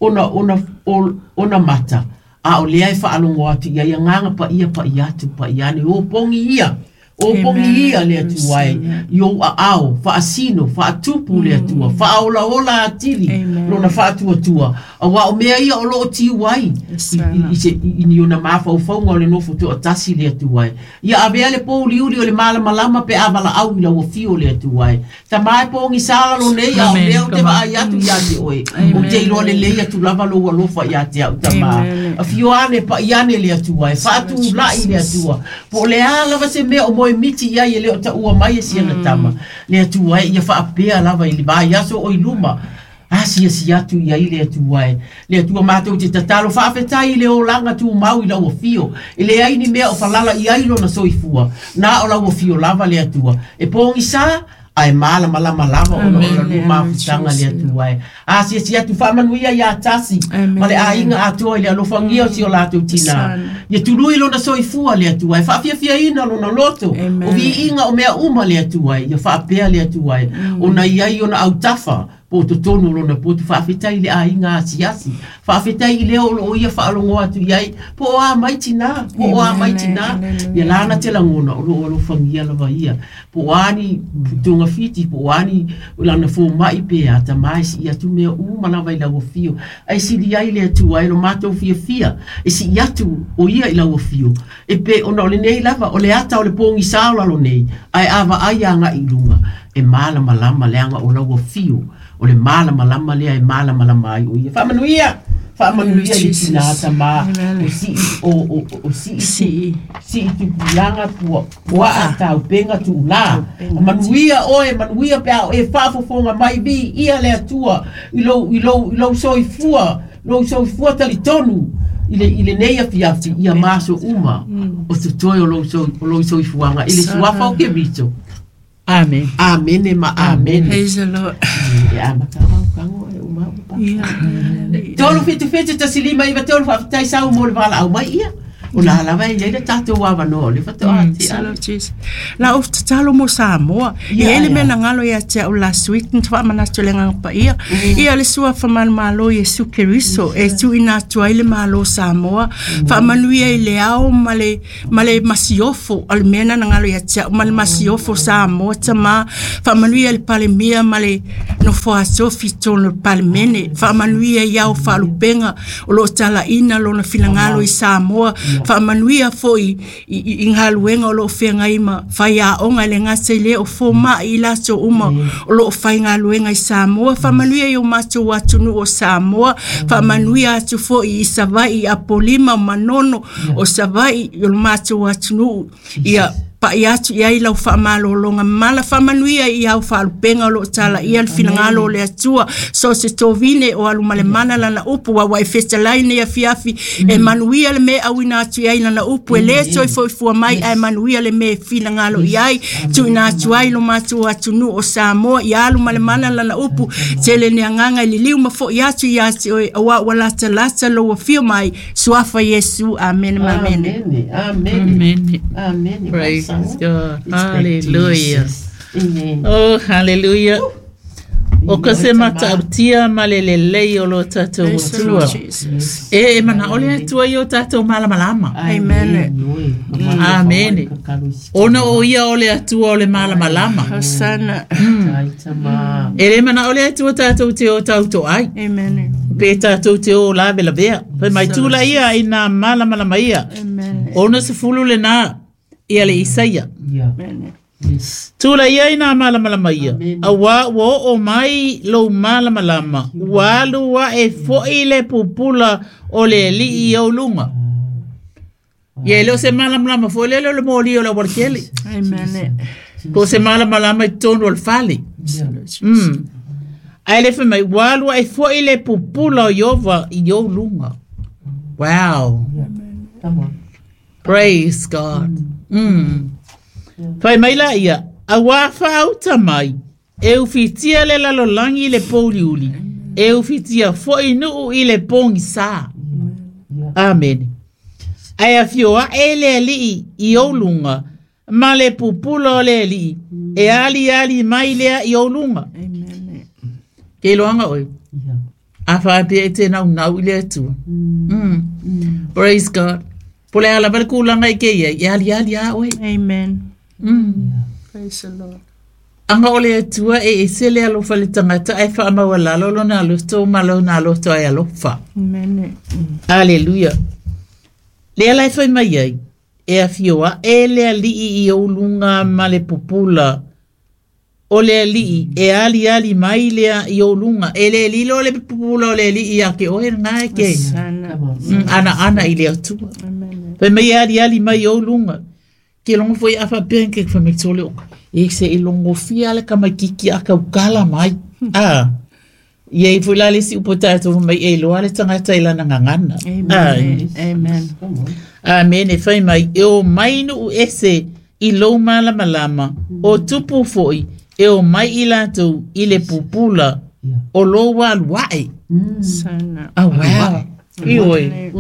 ona, ona, o- ona mata. A o lea e faalogo atu i ai agaga paia paia atu paia ane, o pogi ia. O pogi ia le Atua e, i ou aao, faasino, faatupu le Atua, faaolaola atili, Amen. lona faatuatua. Auā o mea ia o loo tiu ai, i, i, i, se, i, i ni ona mafaufauga o le nofo toatasi le Atua e. Ia avea le pouliuli o le malamalama pe a valaau i lau afio le Atua e. Tamā e pogisā lalo nei, a o Amen. mea ou te Come on. vaai atu iā te oe. Ou te iloa lelei atu lava lou alofa iā te au tamā. Amen. Afio ane paia ane le Atua e, faatula'i le Atua. Po o le a lava se mea o moemiti i ai e le o taua mai e siana tama. Le Atua e, ia faapea lava i le vaiaso o i luma. Asiasi atu i ai le Atua e. Le Atua matou te tatalo faafetai i le olaga tumau i lau afio. E leai ni mea o falala i ai lona soifua. Na o lau afio lava le Atua. E pogisā, ae malamalama lava ona o la lua mafutaga le Atua e. Asiasi atu faamanuia iā tasi Amen. ma le aiga atoa i le alofagia o si o latou tinā. Sana. Ia tului lona soifua le Atua e, faafiafiaina lona loto, Amen. o viiga o mea uma le Atua e, ia faapea le Atua e, ona i ai ona autafa, po o totonu o lona potu faafetai i le aiga asiasi, Faafetai i lea o loo ia faalogo atu i ai po o a mai tinā po o a mai tinā ia lana te lagona o loo alofagia lava ia po o a ni togafiti po o a ni lana fomaʻi pe a tamā e sii atu mea uma lava i lau afio ae sili ai le Atua e lo matou fiafia e sii atu o ia i lau afio e pe ona o lenei lava o le ata o le pogisā o lalo nei ae a vaai agaʻi i luga e malamalama leaga o lau afio o le malamalama lea e malamalama ai o ia faamanuia faamanuia i le tinā tamā o sii o o o sii sii sii tupulaga pua puaa taupega tuulā manuia oe manuia pe a e faafofoga mai viia le Atua i lou i lou i lou soifua lou soifua talitonu i le i lenei afiafi ia maso uma o totoe o lou o lou soifuaga i le suafa o Keriso. Amen. Amene ma amene. Praise the Lord. Ia matau kango e uma upa. Tolu fitu fitu tasi lima iwa tolu faafetai sau mo le valaau mai ia. O la lava e iai le tatou avanoa le fatoa ati a. La o tatalo mo Samoa. I ele mea na ngalo ia te au last week na faamanatu le agaga paia. Ia le suafa manumalo Iesu Keriso e tuuina atu ai le malo Samoa. Faamanuia i le ao ma le ma le masiofo o le mea na ngalo ia te au ma le masiofo Samoa tamā. Faamanuia i le Palemia ma le nofo atofi tonu le Palemene. Faamanuia i ao faalupega o loo talaina lona finagalo i Samoa. Faamanuia foi i galuega o loo feagai ma faiaoga i le gata i lea o fomaʻi i latou uma o loo faigaluega i Samoa. Faamanuia i o matou atunuu o Samoa. Faamanuia atu foi i Savaii Apolima Manono o Savaii o le matou atunuu ia pa'i atu i ai lau faamalologa mala. Faamanuia i au faalupega o loo talaia le finagalo o le Atua so se tovine o alu ma le mana lana upu ua e fetalai nei afiafi e manuia le mea auina atu i ai lana upu e lē toe foifua mai ae manuia le mea e finagalo i ai tuuina atu ai lo matou atunuu o Samoa ia alu ma le mana lana upu tele ni agaga e liliu ma foʻi atu ia te oe auā ua latalata lou afio mai suafa Iesu. Amene ma amene. Amene. Amene. Praise God. Hallelujah. Amen. Oh, hallelujah. O ka se matautia ma le lelei o lo tatou Atua. E e manaʻo le Atua i o tatou malamalama. Amen. Amene. Ona o ia o le Atua o le malamalama. Hosanna. E le manaʻo le Atua tatou te o tautoai. Amen. Pe tatou te o lavelavea. Fai mai tula ia i nā malamalama ia. Amen. Ona sefulu lenā ia le Isaia. Tula ia i nā malamalama ia. Auā ua oo mai lou malamalama. Ua alu aʻe foʻi le pupula o le alii i ou luga. Ia e le o se malamalama foi lele o le moli o le aualakele. Amen. Po o se malamalama i totonu o le fale. Mm. Ae le fai mai ua alu aʻe foʻi le pupula o Ieova i ou luga. Wow. Praise God. Mm. Fai mai la ia, auā faauta mai, e ufitia le lalolagi i le pouliuli, e ufitia foʻi nuu i le pogisā. Amene. Ae afio aʻe le alii i ou luga, ma le pupula o le alii, e aliali mai lea i ou luga. Ke iloaga oe, a faapea e te naunau i le Atua. Mm. Praise God. Po le ala le kulaga i ke ia, e aliali a oe. Amen. Mm. Praise the Lord. Anga o le Atua e ese le alofa le tagata ae faamaualalo lona aloto ma lona aloto ai alofa. Amen. Aleluia. Lea la e fai mai ai, e afio aʻe le alii i ou luga ma le pupula o le alii e aliali mai lea i ou luga. E le lilo le pupula o le alii ia ke oe lena e ke. Mm, ana ana i le Atua. Fai mai e aliali mai i ou luga. Ke longo foi a faapea ke fai mai tole oka. E se e logofia le kamaikiki a kaukala mai. Ah. Ia i foi la le si upo tatou mai e iloa le tagata i lana gagana. Amen. Amen. Amene. Fai mai e o mai nuu ese i lou malamalama o tupu foʻi e o mai i latou i le pupula o lou alu aʻe. Sana. Oh, wow. I oe.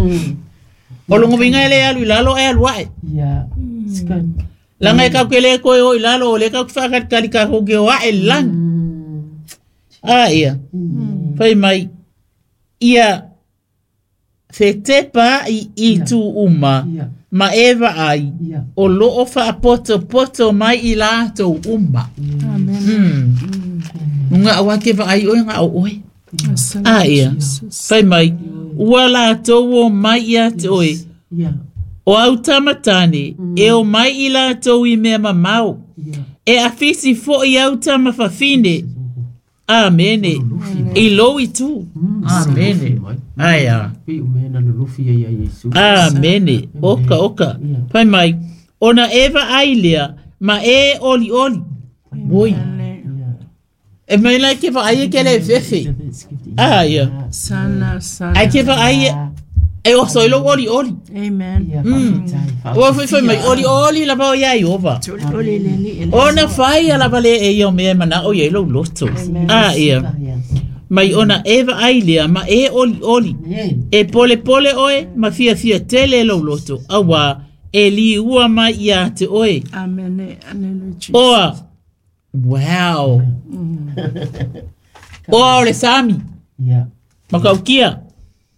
O logoviga e le alu i lalo e alu aʻe. Yeah. It's good. Laga e kauke le koe o i lalo o le kauke faakalikali kakou ke o aʻe le lagi. A ia. Fai mai ia Fetepa i i tu uma ma eva ai o loo whaapoto poto mai i lātou uma. Amen. Nga awa ke vaai oe nga au oe. Ah ia. Whai mai, ua lātou o mai ia te oe. O au tamatane, e o mai i lātou i mea mamau. E awhisi fo i au tamawhawhine. Amene. I lou i tu. Amene. Aia. Amene. Oka, oka. Pai mai. Ona eva ailea, ma e oli oli. Oi. E mai lai ke vaai e ke le fefe. Ah, ia. Sana, sana. Ai ke vaai e o soi lo oli oli. Amen. Ua fai fai mai oli oli la bao ia iova. Ona fai ala vale e ia mea mana o ia lo loto. Ah, ia. Mai ona eva ailea ma e oli oli. E pole pole oe ma fia fia tele lo loto. Awa e li ua mai ia te oe. Amen. Hallelujah. Oa. Wow. Oa o le sami. Yeah. Makaukia.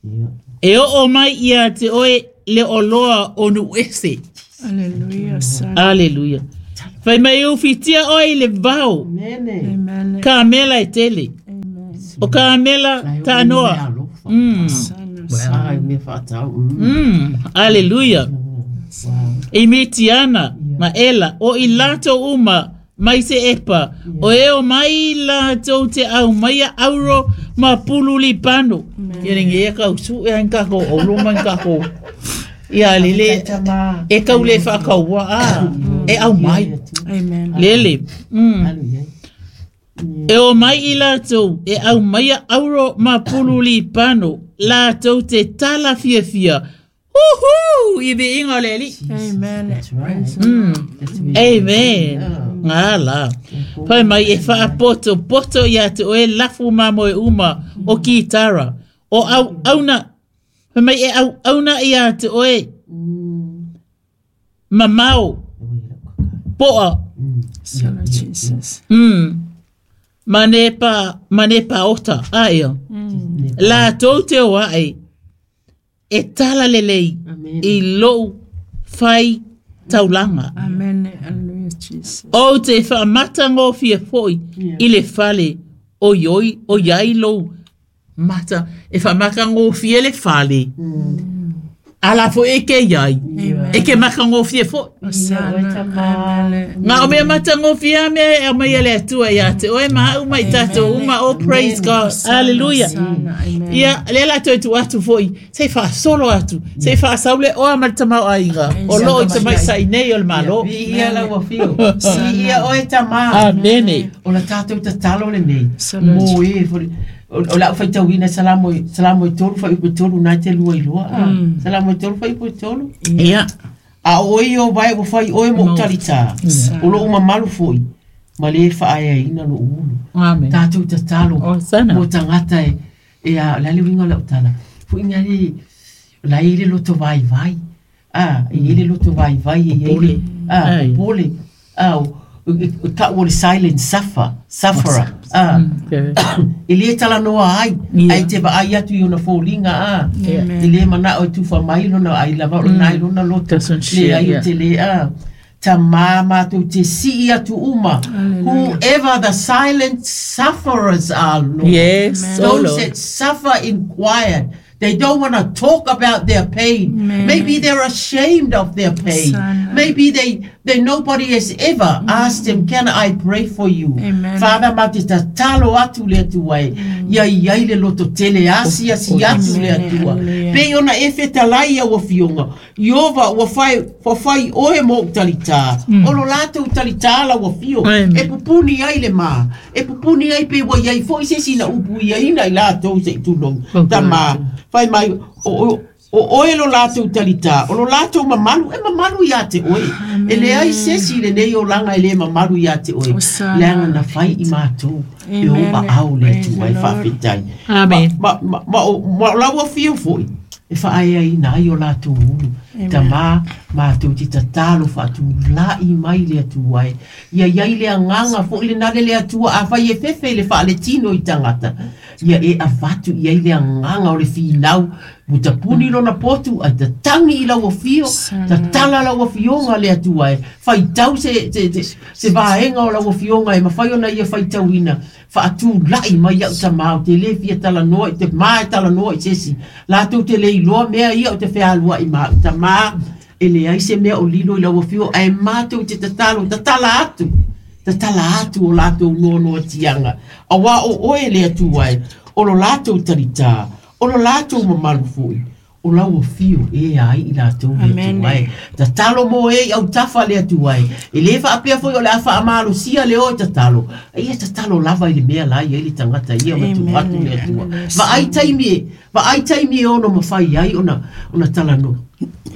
Yeah. E o o mai ia te oe le oloa o nuese. Hallelujah. Hallelujah. Fai mai u fitia oe i le vao. Amen. Ka mela e tele. O ka mela tānoa. Mm. Mm. Hallelujah. E mitiana ma ela o i lato uma mai se epa. O e o mai lato te au mai a auro ma pululi pano. Ia ringi e kau su e hanka ko o luma ka ko. Ia lele e kau le whakaua a e au mai. Amen. Lele. Mm. E o mai i lātou, e au mai a auro ma pululi pano, lātou te tala fia fia. Uhu! I be inga le li. Amen. That's right. Mm. Amen. Ngā la. Pai mai e whaapoto, poto ia te oe lafu mamoe uma o kitara. O au auna. Pai mai e au auna ia te oe. Mamao. Poa. Son of Jesus. Mm. Mane pa, mane pa ota. Aia. La tau te oa e. E tala lelei. I lou whai taulanga. Amen. Hallelujah, Jesus. O te whaamata ngō fia foi i le fale o ioi o iai lou mata. E whaamaka ngō fia le fale. Ala fo e ke iai. E ke maka ngō fia foi. Ngā o mea mata ngō fia mea e mai ele atua ia te oe maha uma i tātou uma. Oh, praise God. Hallelujah. Ia, le la toi tu atu foi. Sei whaasolo atu. Sei whaasaule oa marita ainga. O loo i tamai sa inei o le malo. Ia la ua fio. Ia oe tamā. Amene. O la tātou tatalo le nei. Mō e fori. O la whaitauina salamo salamo i tolu whai upe tolu nai te lua i lua. Salamo i tolu whai upe tolu. Ia. A oi o vai o whai oe mo utalita. O lo uma malu foi. Ma le whaea ina lo ulu. Amen. Tātou tatalo. O sana. Mo tangata e. E a la le winga la utala. Fu inga le la ile loto vai vai. Ah, ile loto vai vai e ile. Ah, pole. Ah, ka o le silent suffer, sufferer. Ah. Ile tala noa ai. Ai te va ai atu i ona fōlinga ah. Ile mana o tufa mai lona ai lava o nai lona loto. Le ai te le ah. Ta mama tu te si atu uma. Whoever the silent sufferers are, Lord. Yes, those that suffer in quiet. They don't want to talk about their pain. Amen. Maybe they're ashamed of their pain. Sana. Maybe they, they nobody has ever mm. asked them, can I pray for you? Amen. Father, ma te tatalo atu le atua e. Ia ia ile loto tele asi asi atu le atua. Pe ona e fetalai ia ua fionga. Iova ua whai, ua whai oe mo utalita. Mm. Olo lato utalita la ua fio. E pupuni ai le ma. E pupuni ai pe ua iai fo ise sina upu ia ina i lato se tulong. Tama. Whai mai, o, o oe lo lātou talita, o lo lātou mamalu, e mamalu ia te oe. E le ai sesi le nei o langa e le mamalu ia te oe. Leanga na whai i mātou, e o ma au le tua e whawhitai. Amen. Ma, ma, ma, ma, ma laua whio foi, e whaea i nai o lātou ulu. Ta mā, mātou te tatalo whaatu lai mai le atua e. Ia iai le anganga fo i le nale le atua a whai e fefe le wha le tino i tangata. Ia e avatu i ai le agaga o le finau ua tapuni lona potu ae tatagi i lau afio tatala lau afioga le Atua e faitau se, se, se, se vaega o lau afioga e mafai ona ia faitauina faatula'i mai au tamā o te lē fia talanoa i te ma e talanoa i sesi latou te le iloa mea ia o te fealua'i ma au tamā e leai se mea o lilo i lau afio ae matou te tatalo tatala atu tatala atu o latou noanoatiaga auā o oe le Atua e o lo latou talitā o lo latou mamalu fo'i o lau afio e ai i latou le Atua e tatalo mo e i autafa le Atua e e lē faapea foi o le a faamalosia le o e tatalo ia tatalo lava i le mea la i ai le tagata ia ma tu atu le Atua vaai taimi e vaai taimi e ono mafai ai ona ona talanoa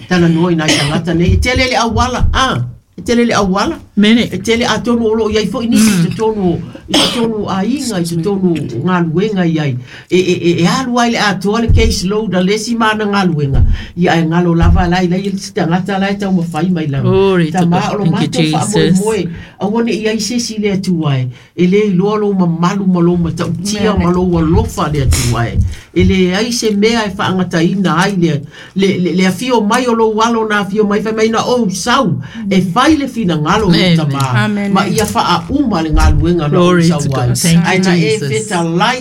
talanoa i nai tagata nei e tele le auala a e tele le auala Mene. E tele atonu o loo iai fo'i nisi i totonu i totonu aiga i totonu galuega iai e e e e alu ai le atoa le case load a le isi ma ana galuega ia ae galo lava la i lai le tagata la e taumafai mai lava Glory to tamā God. o lo Thank you, matou Jesus. faamoemoe aua ne i ai se isi le Atua e e lē iloa lou mamalu ma lou matautia ma lou alofa le Atua e e leai se mea e faagataina ai le le le, le afio mai o lou alo na afio mai fai mai na ou sau e fai le finagalo o lou Amen. tamā Amen. ma ia faauma le galuega na ou Glory sau to ai God. Thank you, ae na e Jesus. fetalai